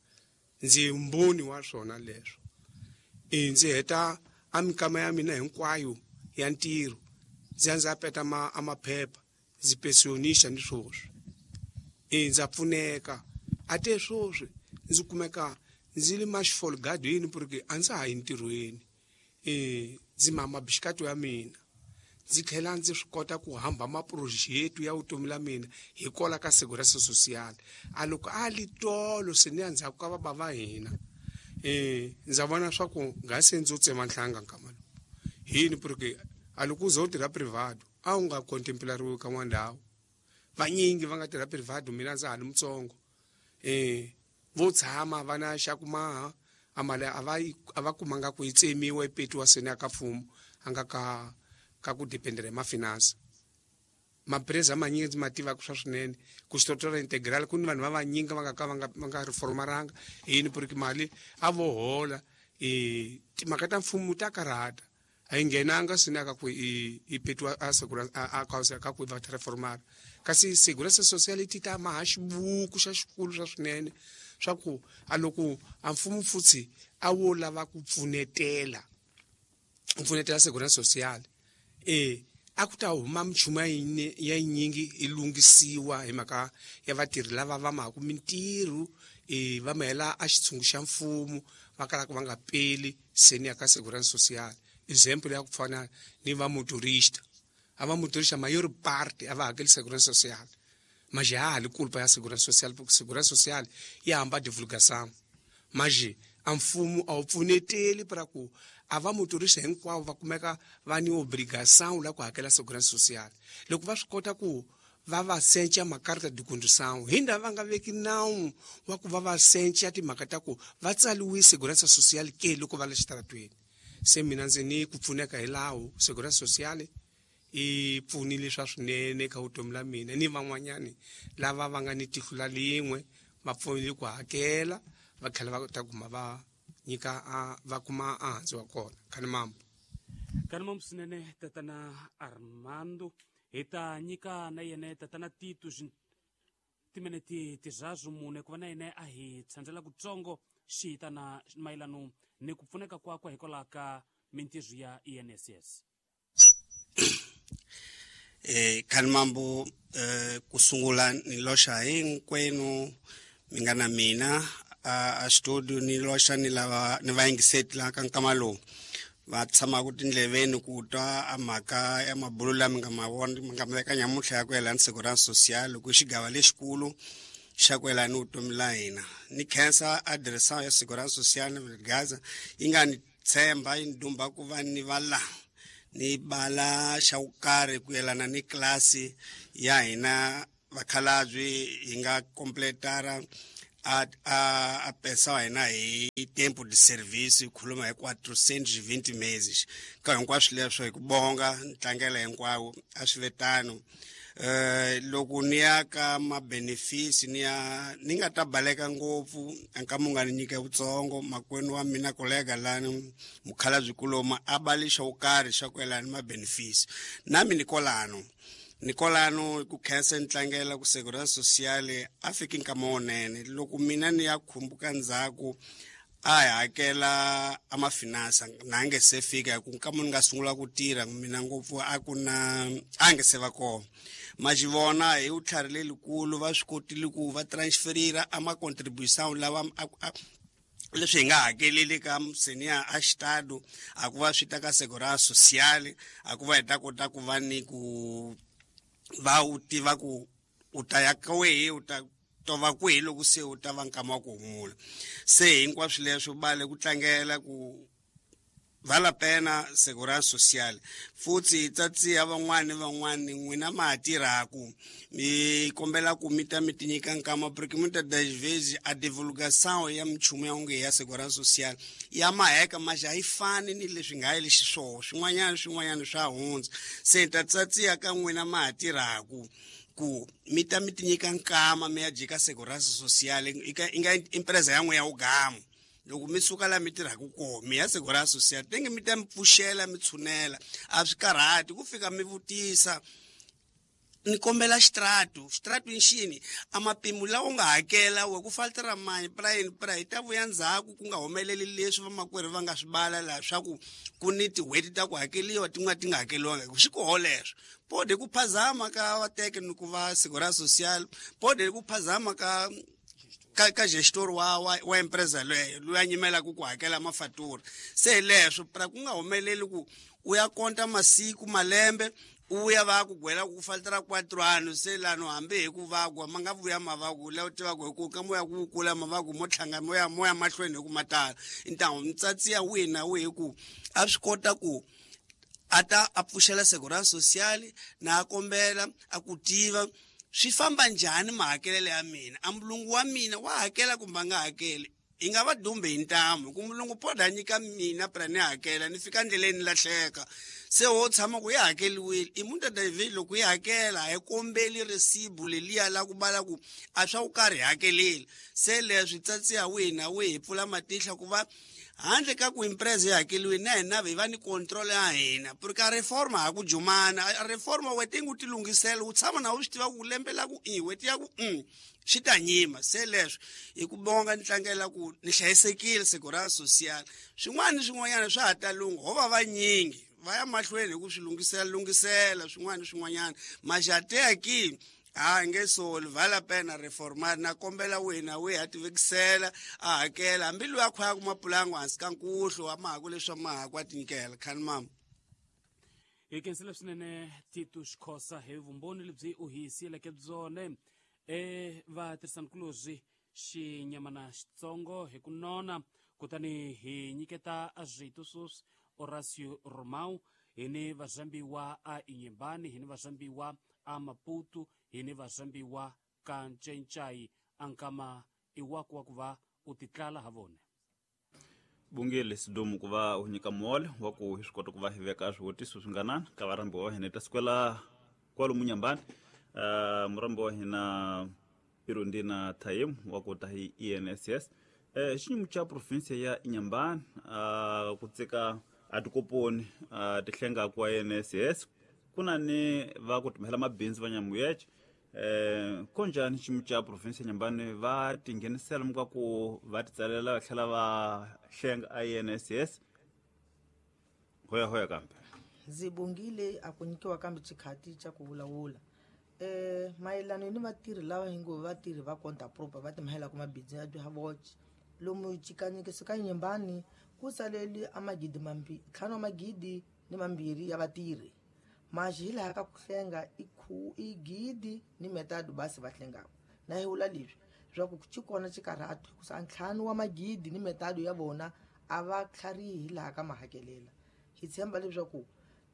Ndzi mbhoni wa swona leswo. E ndzi heta a minkama ya mina hinkwayo ya ntirho ndzi ya ndzi ya peta ma a maphepha ndzi pensionista ni swoswi. E ndza pfuneka. A te swoswi ndzi kumeka ndzi li maxifolgadweni porque a ndza ha yi ntirhweni. E ndzi mama bixikato ya mina. Ndzi tlhela ndzi swi kota ku hamba maproject ya vutomi la mina hi kola ka Segurança Social. A loko a li tolo se ni ya ndzhaku ka baba va hina. E ndza vona swa ku nga se ndzo tsema nhlanga nkama lowu. Yini porque a loko u ze u tirha privado a wu nga contemplariwi ka n'wa ndhawu. Vanyingi va nga tirha privado mina ndza ha li mutsongo. E vo tshama va na xa ku maha a mali a va a va kumanga ku yi tsemiwa yi petiwa seni ya ka mfumo a nga ka ka ku dependera hi mafinansa. Mapreza manyingi ndzi ma tivaka swa swinene ku xitotora integral ku ni vanhu va vanyingi va nga ka va nga va nga reformaranga. Yini porque mali a vo hola. E timhaka ta mfumo ta karhata. A yi nghenanga seni ya ka ku i i petiwa a Segurança a a ka ku va reformara. Kasi Segurança Social ti ta maha xibuku xa xikulu swa swinene swa ku a loko a mfumo futhi a wo lava ku pfunetela ku pfunetela Segurança Social e a ku ta huma minchumu ya yinyingi yi lunghisiwa hi mhaka ya vatirhi lava va mahaku mintirho e va mahela a xitshungu xa mfumo va kalaka va nga peli seni ya ka Segurança Social. Example ya ku fana ni va motorista. A va motorista mayor parte a va hakeli Segurança Social. Mas ha li culpa ya Segurança Social porque Segurança Social ya hamba divulgação. Mas a mfumo a wu pfuneteli para ku a va motorista hinkwavo va kumeka va ni obrigação la ku hakela Segurança Social. Loko va swi kota ku va va sencha makarta de condução, hinda va nga veki nawu wa ku va va sencha timhaka ta ku va tsaliwi Segurança Social ke loko va le xitaratweni. Se mina ndzi ni ku pfuneka hi lawo Segurança Social i pfunile swa swinene ka vutomi la mina ni van'wanyani lava va nga ni tihlo la lin'we va pfunile ku hakela va tlhela va ta kuma va nyika a va kuma a hansi wa kona. Khani mambo. Khani mambo swinene tatana Armando. Hi ta nyika na yena tatana Tito timinete tizazu mune ku va na yena a hi tshandzela kutsongo xi tana mayelano ni ku pfuneka kwakwe hikwalaho ka mintirho ya I N S S. Eh khani mambo eh kusungula ni loxa hinkwenu mi nga na mina a studio ni loxa ni lava ni va yingiseti la ka nkama lowu va tshamaka tindleveni ku twa a mhaka ya mabulo lama nga ma vona mi nga ma veka nyamuntlha ya ku yelana Segurança Social ku xigava lexikulu xa ku yelana ni vutomi la hina. Ni khensa adiresa ya Segurança Social ni Gaza yi nga ni tshemba yi ni dumba ku va ni va la ni bala xa ku karhi ku yelana ni klasi ya hina vakhalabye hi nga completara a a a pensão hina hi tempo de serviço hi khuluma hi quatrocentos e vinte meses ka hinkwaswo leswo hi ku bonga ntlangela hinkwawo a swi ve tano. Eh loko ni ya ka ma-benefits ni ya ni nga ta baleka ngopfu nkama u nga ni nyika vutsongo makwenu wa mina kolega lani mukhalabye kuloma a bali xo karhi xa ku yelana ma-benefits nami ni kolano ni kolano ku khensa ni tlangela ku Segurança Social a fiki nkama wunene loko mina ni ya khumbuka ndzhaku a hi hakela a mafinansa na nge se fika hi ku nkama ni nga sungula ku tirha mina ngopfu a ku na a nge se va kona ma xi vona hi vutlhari lelikulu va swi kotile ku va transferira a ma-contribution lawa leswi hi nga hakeleli ka senior a xitado a ku va swi ta ka Segurança Social a ku va hi ta kota ku va ni ku va u tiva ku u ta ya ka wehe u ta tova kwihi loko se u ta va nkama wa ku humula se hinkwaswo leswo bale ku tlangela ku vale a pena Segurança Social futhi tsatsiya van'wani van'wani n'wina ma ha tirhaku mi kombela ku mi ta mi ti nyika nkama porque muitas das vezes a divulgação ya minchumu ya onge ya Segurança Social ya maheka mas a yi fani ni leswi nga yi xiswona swin'wanyana swin'wanyana swa hundza se ta tsatsiya ka n'wina ma ha tirhaku ku mi ta mi ti nyika nkama mi ya jika Segurança Social i nga empresa ya n'we ya ugamu loko mi suka la mi tirhaka kona mi ya Segurança Social tenge mi ta mi pfuxela mi tshunela a swi karhati ku fika mi vutisa ni kombela xitratu xitratu i xini a mapimo lawa u nga hakela we ku faltera mani pra yini pra hi ta vuya ndzhaku ku nga humeleli leswi vamakwerhu va nga swi bala laha swa ku ku ni tin'hweti ta ku hakeliwa tin'wana ti nga hakeliwanga hi swi koho leswo pode ku phazama ka vateke ni ku va Segurança Social pode ku phazama ka ka ka gestor wa wa, wa empresa leyo loyi a nyimelaka ku hakela mafatura se leswo pra ku nga humeleli ku u ya konta masiku malembe u ya va ku gwela ku faltera quatro anos se lano hambi hi ku vagwa ma nga vuya mavaku la u tivaka hi ku ka moya ku kula mavaku mo tlhanga moya moya mahlweni hi ku matala ntamu mtsatsi ya wihi na wihi ku a swi kota ku a ta a pfuxela Segurança Social na a kombela a ku tiva swi famba njhani mahakelelo ya mina a mulungu wa mina wa hakela kumbe a nga hakeli hi nga va dumbe hi ntamu ku mulungu poda a nyika mina pra ni hakela ni fika ndleleni ni lahleka se wo tshama ku yi hakeliwile i muitas das vezes loko yi hakela a hi kombeli resibu leliya la ku bala ku a swa ku karhi hakeleli se leswi tsatsi ya wihi na wihi hi pfula matihla ku va handle ka ku empresa yi hakeliwile na hina hi va ni control ya hina porque a reforma ha ku jumana a reforma wete ngu ti lunghisela u tshama na u swi tiva ku lembe la ku i weti ya ku mm swi ta nyima se leswo hi ku bonga ni tlangela ku ni hlayisekile Segurança Social swin'wana ni swin'wanyana swa ha ta lungha ho va vanyingi va ya mahlweni hi ku swi lunghisela lunghisela swin'wana ni swin'wanyana maxateya ki a nge soli vale a pena reformar na kombela wihi na wihi a tivekisela a hakela hambi loyi a khwayaka mapulangu hansi ka nkuhlu a mahaku leswa mahaku a tinyikela khani mama hi khensile swinene Tito Xikhosa hi vumbhoni lebyi u hi siyeleke byone e vatirhisanikulorhi xinyamana xitsongo hi ku nona kutani hi nyiketa swito sweswi Horacio Romão hi ni vazambiwa a Inhambane hi ni vazambiwa a Maputo hi ni vazambiwa ka Ncencai a nkama i waku wa ku va u titlala ha vona bungile sidumu ku va u nyika muholo wa ku hi swi kota ku va hi veka swivutiso swi nga nani ka varhambiwa wa hina hi ta sukela kwalomu Nyambani uh, murambi wa hina Irundina Thaim wa ku ta hi I N S S eh xiyimo xa province ya Inhambane uh, ku tsika a tikoponi uh, tihlenga kwa I N S S ku na ni va ku timhela mabindzu va nyamuyece eh konjani xiyimo xa province ya Inhambane va tinghenisela muka ku va titsalela va tlhela va hlenga I N S S hoya hoya kambe ndzi bongile a ku nyikiwa kambe xikhati xa ku vulavula eh mayelana ni vatirhi lava hingo vatirhi va konta proper va timhela ku mabindzu ya bya lomu xikanyekiso ka Inhambane ku saleli a magidi mambirhi ntlhanu wa magidi ni mambirhi ya vatirhi maxi hi laha ka ku hlenga i khu i gidi ni metado basi va hlengaka na hi vula leswi swa ku xi kona xikarhatu hikusa ntlhanu wa magidi ni metado ya vona a va tlharihi hi laha ka mahakelela hi tshemba leswaku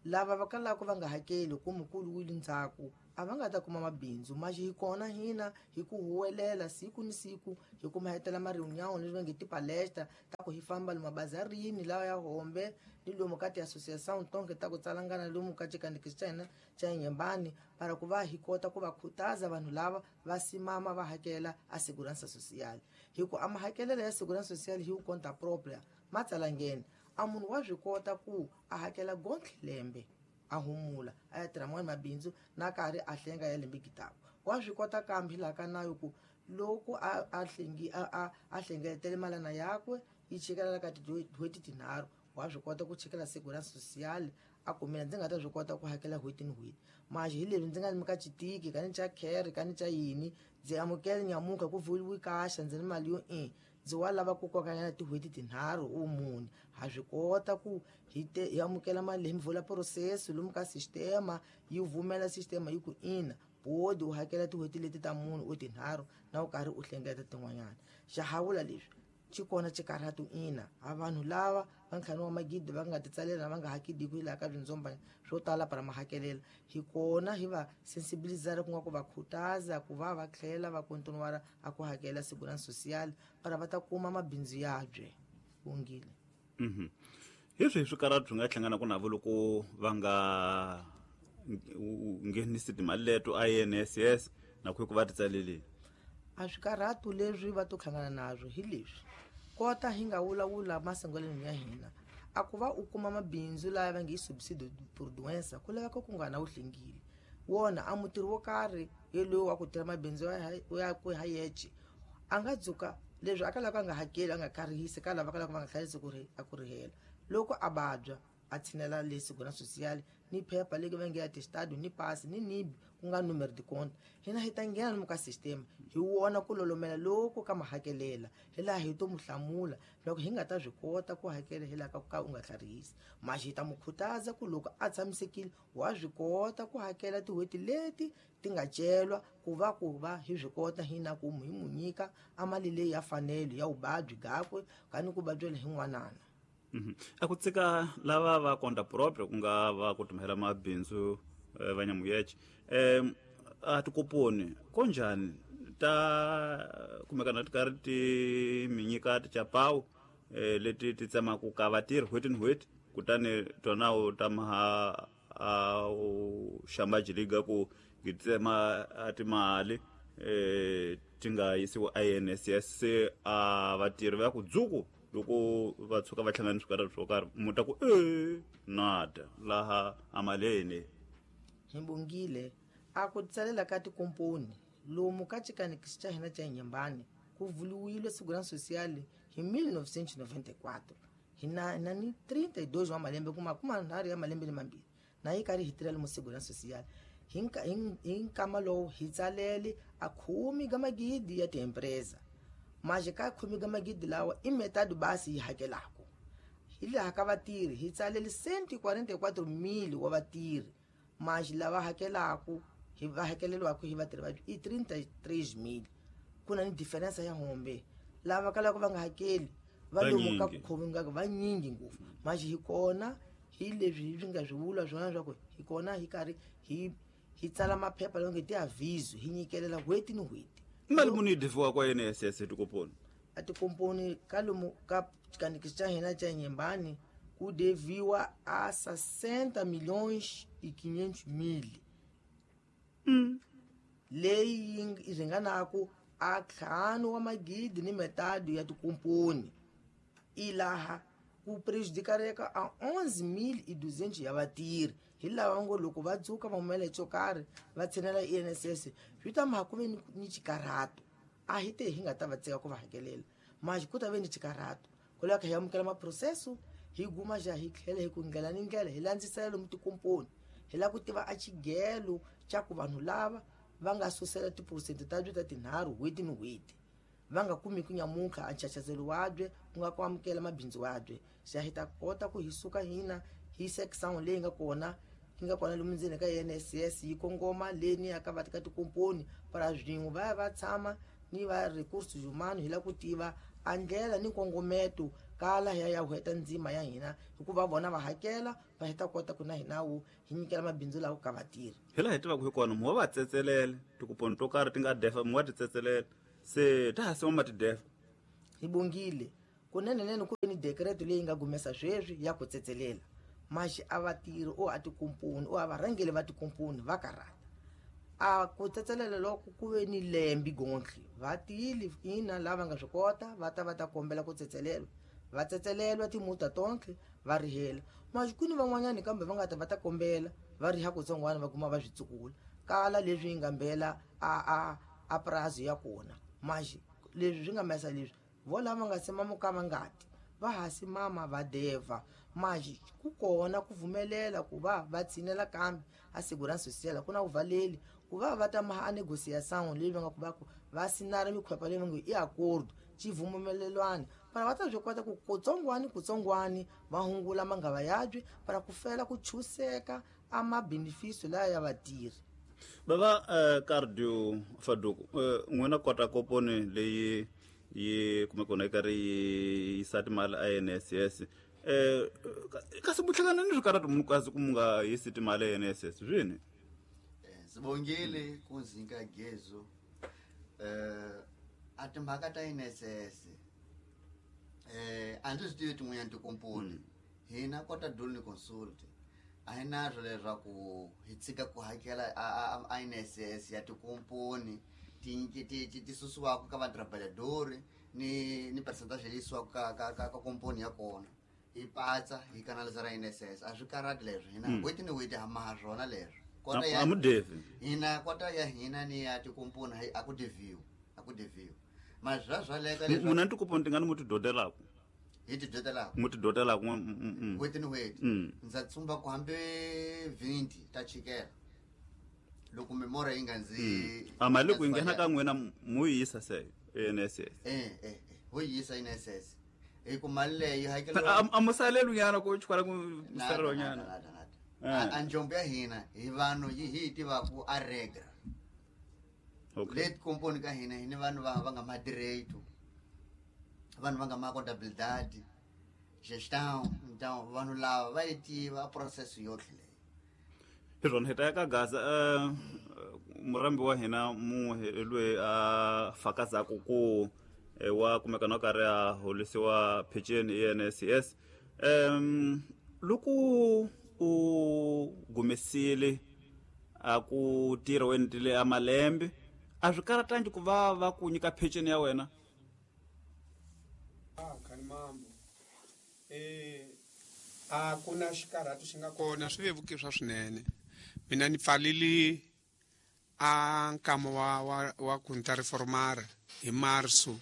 lava va kalaka va nga hakeli ku mukulu wile ndzhaku a va nga ta kuma mabindzu maxi hi kona hina hi ku huwelela siku ni siku hi kuma hetela ma-reunião leswi va nge tipalestra ta ku hi famba lomu mabazarini lawa ya hombe ni lomu ka ti-associação tonke ta ku tsalangana lomu ka xikandzikisi xa hina xa Inhembane para ku va hi kota ku va khutaza vanhu lava va simama va hakela a segurança social hi ku a mahakelelo ya segurança social hi ku conta própria ma tsalangeni a munhu wa swi kota ku a hakela gontlhe lembe a humula a ya tirha man'wani mabindzu na karhi a hlenga ya lembe gitako wa swi kota kambe laha ka nayo ku loko a a hlengi a a a hlengeletele malana yakwe yi chikelela ka tin'hweti tinharhu wa swi kota ku chikela segurança social a ku mina ndzi nga ta swi kota ku hakela n'hweti ni n'hweti maxi hi leswi ndzi nga ni ka chitiki ka ni cha care ka ni cha yini ndzi amukele nyamuka ku vuliwi kaxa ndzi ni mali yo i ndzi wa lava ku kokanyana tin'hweti tinharhu u mune ha swi kota ku hi te hi amukela mali leyi mi vula processo lomu ka sistema yi vumela sistema yi ku ina bodi u hakela tin'hweti leti ta munhu u tinharhu na u karhi u hlengeleta tin'wanyana xa ha vula leswi xi kona xikarhatu ina a vanhu lava va ntlhanu wa magidi va nga titsalela va nga hakediku hi laha ka swindzomba swo tala para mahakelela hi kona hi va sensibilizara ku nga ku va khutaza ku va va tlhela va kontinuara a ku hakela segurança social para va ta kuma mabindzu yabye wongile. Mhm. Hi swihi swikarhatu swi nga hlanganaka navo loko va nga nghenisi timali leto a I N S S na ku va ti tsaleleni? A swikarhatu leswi va to hlangana nazwo hi leswi kota hi nga vulavula masungulweni ya hina a ku va u kuma mabindzu laya va nge i subsidio por doença ku laveka ku nga na wu hlengile wona a mutirhi wo karhi yeloyi wa ku tirha mabindzu ya ku ha yexe a nga dzuka leswi a ka lava a nga hakeli a nga karihisi ka lava ka lava va nga hlayisi ku ri a ku rihela loko a vabya a tshinela le segurança social ni phepha leyi va nge ya testado ni pasi ni nibi ku nga número de conta hina hi ta nghena lomu ka sistema hi wona ku lolomela loko ka mahakelela hi laha hi to mu hlamula loko hi nga ta swi kota ku hakela hi laha ka ku ka u nga tlharihisi maxi hi ta mu khutaza ku loko a tshamisekile wa swi kota ku hakela tin'hweti leti ti nga celwa ku va ku va hi swi kota hina ku hi mu nyika a mali leyi ya fanelo ya vuvabyi gakwe kani ku vabyela hi n'wanana. A ku tsika lava va conta própria ku nga va ku tumhela mabindzu va nyamuyeche um a tikoponi konjhani ta kumekana ti karhi ti mi nyika tichapawu eh, leti ti tsemaka ka vatirhi n'hweti ni n'hweti kutani tona u ta maha a u xambajiliga ku ngi tsema a timali eh, ti nga yisiwa I N S S se a vatirhi va ku dzuku loko va tshuka va hlangana swikarhi swo karhi mu ta ku e nada laha amaleni. Hi bongile a ku tsalela ka tikomponi lomu ka xikanekisi xa hina xa Inhembane ku vuliwile segurança social hi mil novecentos noventa e quatro hi na na ni trinta e dois wa malembe kuma kuma nharhu ya malembe ni mambirhi na yi karhi hi tirhela mu segurança social hi hi nkama lowu hi tsalele a khume ka magidi ya tiempresa maxi ka khume ka magidi lawa i metade basi yi hakelaka hi laha ka vatirhi hi tsalele cento e quarenta e quatro mil wa vatirhi maxi lava hakelaku hi va hakeleriwaka hi vatirhi va i trinta e três mil ku na ni diferença ya hombe lava kalaka va nga hakeli va lomu ka ku khominga va nyingi ngopfu maxi hi kona hi leswi hi nga swi vula swona swa ku hi kona hi karhi hi hi tsala maphepha lawa nge tiaviso hi nyikelela n'hweti ni n'hweti. Mali muni yi deviwa kwa I N S S tikomponi? A tikomponi ka lomu ka xikanekisi xa hina xa Inhembane ku deviwa a sessenta milhões e quinhentos mil mm. leyi yi ringanaku a ntlhanu wa magidi ni metade ya tikomponi ilaha ku prejudicareka a onze mil e duzentos ya vatirhi hi lava ngo loko va dzuka va humela hi xo karhi va tshinela I N S S swi ta ma ku ve ni, ni xikarhato a hi te hi nga ta va tsika ku va hakelela maxi ku ta ve ni xikarhato ku lava hi amukela maprocesso hi guma xa hi tlhela hi ku ndlela ni ndlela hi landzisela lomu tikomponi hi lava ku tiva a xigelo xa ku vanhu lava va nga susela tiphurosente ta byo ta tinharhu n'hweti ni n'hweti va nga kumi ku nyamuka a nchachazelo wabye ku nga ku amukela mabindzu wabye xa hi ta kota ku hi suka hina hi section leyi nga kona yi nga kona lomu ndzeni ka I N S S yi kongoma leni ya ka va ka tikomponi para swin'we va ya va tshama ni va recursos humanos hi lava ku tiva a ndlela ni nkongometo kala ya ya heta ndzima ya hina hikuva vona va hakela va heta kota ku na hina wu hi nyikela mabindzu lawo ka vatirhi. Hi laha hi tivaka hi kona muwa va tsetselele tikuponi to karhi ti nga defa muwa ti tsetselele se ta ha sima ma ti defa. Hi bongile kunenenene ku ve ni dekreto leyi nga gumesa sweswi ya ku tsetselela maxi a vatirhi o a tikomponi o a varhangeli va tikomponi va karhata a ku tsetselela loko ku ve ni lembi gontlhe vatili ina lava nga swi kota va ta va ta kombela ku tsetselelwa va tsetselelwa timuta tontlhe va rihela maxi ku ni van'wanyani kambe va nga ta va ta kombela va riha kutsongwana va kuma va swi tsukula kala leswi yi nga mbela a a a prazo ya kona maxi leswi swi nga mesa leswi vo lava nga sima mukama ngati va ha simama va deva maxi ku kona ku pfumelela ku va va tshinela kambe a segurança social ku na ku valeli ku va va ta maha a negociação leyi va nga ku va ku va sinara mikhwepa leyi va ngo i acordo xivumelelwano para va ta swi kota ku kutsongwani kutsongwani va hungula mangava yabye para ku fela ku chuseka a mabenefício laya ya vatirhi. Bava uh, Cardio Faduku uh, n'wina kota koponi leyi yi kumeka kona yi karhi yi yisa timali a N S S eh kasi muhlangana ni swikarhati munhu kasi ku mu nga yisi timali a N S S swini? Sibongile kunzinka gezo eh a timhaka ta N S S eh a ndzi swi tivi tin'wanyana tikomponi hina kota Dulni Consult a hi na swo leswaku hi tshika ku hakela a N S S ya tikomponi ti ti ti susiwaka ka vatrabalhadori ni ni percentage leyi yisiwaka ka ka ka ka komponi ya kona hi patsa hi kanalizara N S S a swi karhati leswi hina n'hweti ni n'hweti ha maha swona leswi kota ya hina kota ya hina ni ya tikomponi a ku deviwi a ku deviwi mara swa swaleka leswi munhu a tikoponi ti nga ni mu ti dodelaku hi ti dodelaku mu ti dodelaku n'hweti ni n'hweti ndza tsumba ku hambi vinti ta chikela loko memora yi nga ndzi a mali ku yi nghena ka n'wina mu yi yisa se N S S eh eh ho yi yisa N S S hi ku mali leyi hakeliwa a musalelo nyana ku chukala ku musalelo nyana a njombo ya hina hi vanhu yi hi tivaku a regra leti komponi ka hina hi ni vanhu va va nga ma direito vanhu va nga ma contabilidade gestão então vanhu lava va yi tiva process yotlhe leyi. Hi swona hi ta ya ka Gaza murambi wa hina mun'we loyi a fakazaku ku wa kumeka na karhi a holisiwa peceni i N S S um loko u gumesile a ku tirha u endlile a malembe a swi karhatangi ku va va ku nyika peceni ya wena? Ah khani mambo eh a ku na xikarhati xi nga kona swi vevukiswa swinene mina ni pfalili a nkama wa wa wa ku ni ta reformara hi março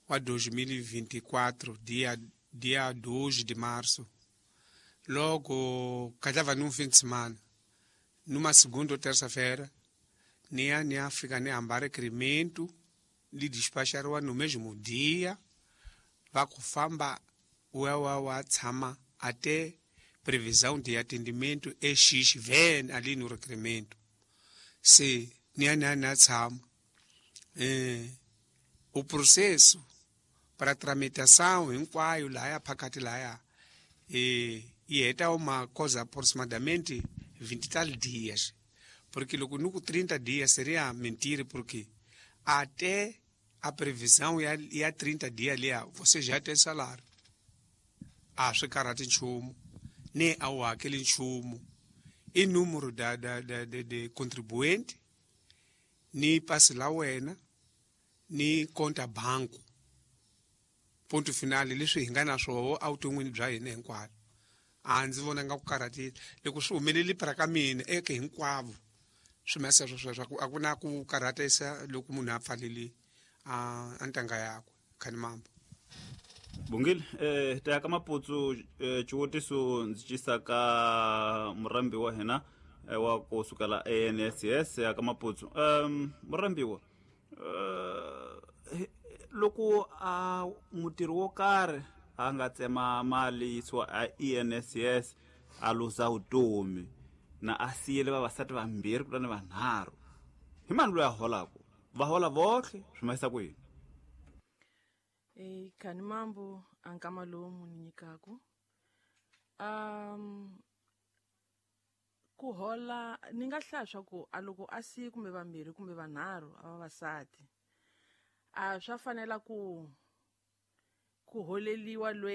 wa dois mil e vinte e quatro dia dia dois de março logo calhava num fim de semana numa segunda ou terça-feira ni ni África ni hamba requerimento li despachariwa no mesmo dia va ku famba wa wa wa tshama até previsão de atendimento é X vem ali no requerimento se ni ni ni tshama eh o processo para tramitação hinkwayo laya phakathi laya eh e heta uma coisa aproximadamente vinte e tal dias porque loko nuku trinta dias seria mentira porque até a previsão ya, ya trinta dias ali você já tem salário a swi karhati nchumu ni a wu hakeli nchumu i número da da da de, de contribuinte ni pasi la wena ni conta banco ponto final leswi hi nga na swoho evuton'wini bya hina hinkwavo a ndzi vona nga ku karhatile loko swi humeleli para ka mina eke hinkwavo swi masa sweswo swa a ku na ku karhatisa loko munhu a pfalele a ntanga yakwe khani mambo. Bongile eh ta ka Maputsu xivutiso ndzi cisa ka murambi wa hina wa ku sukela A N S S ya ka Maputsu um murambiwa eh loko a mutirhi wo karhi a nga tsema mali yisiwa a E N S S a luza vutomi na a siyele vavasati vambirhi kutani vanharhu hi mani loyi a holaku va hola votlhe swi ma yisa ku yini? E khani mambo a nkama lowu mu ni nyikaku um ku hola ni nga hlaya swa ku a loko a siye kumbe vambirhi kumbe vanharhu a vavasati a swa fanela ku ku holeliwa loyi.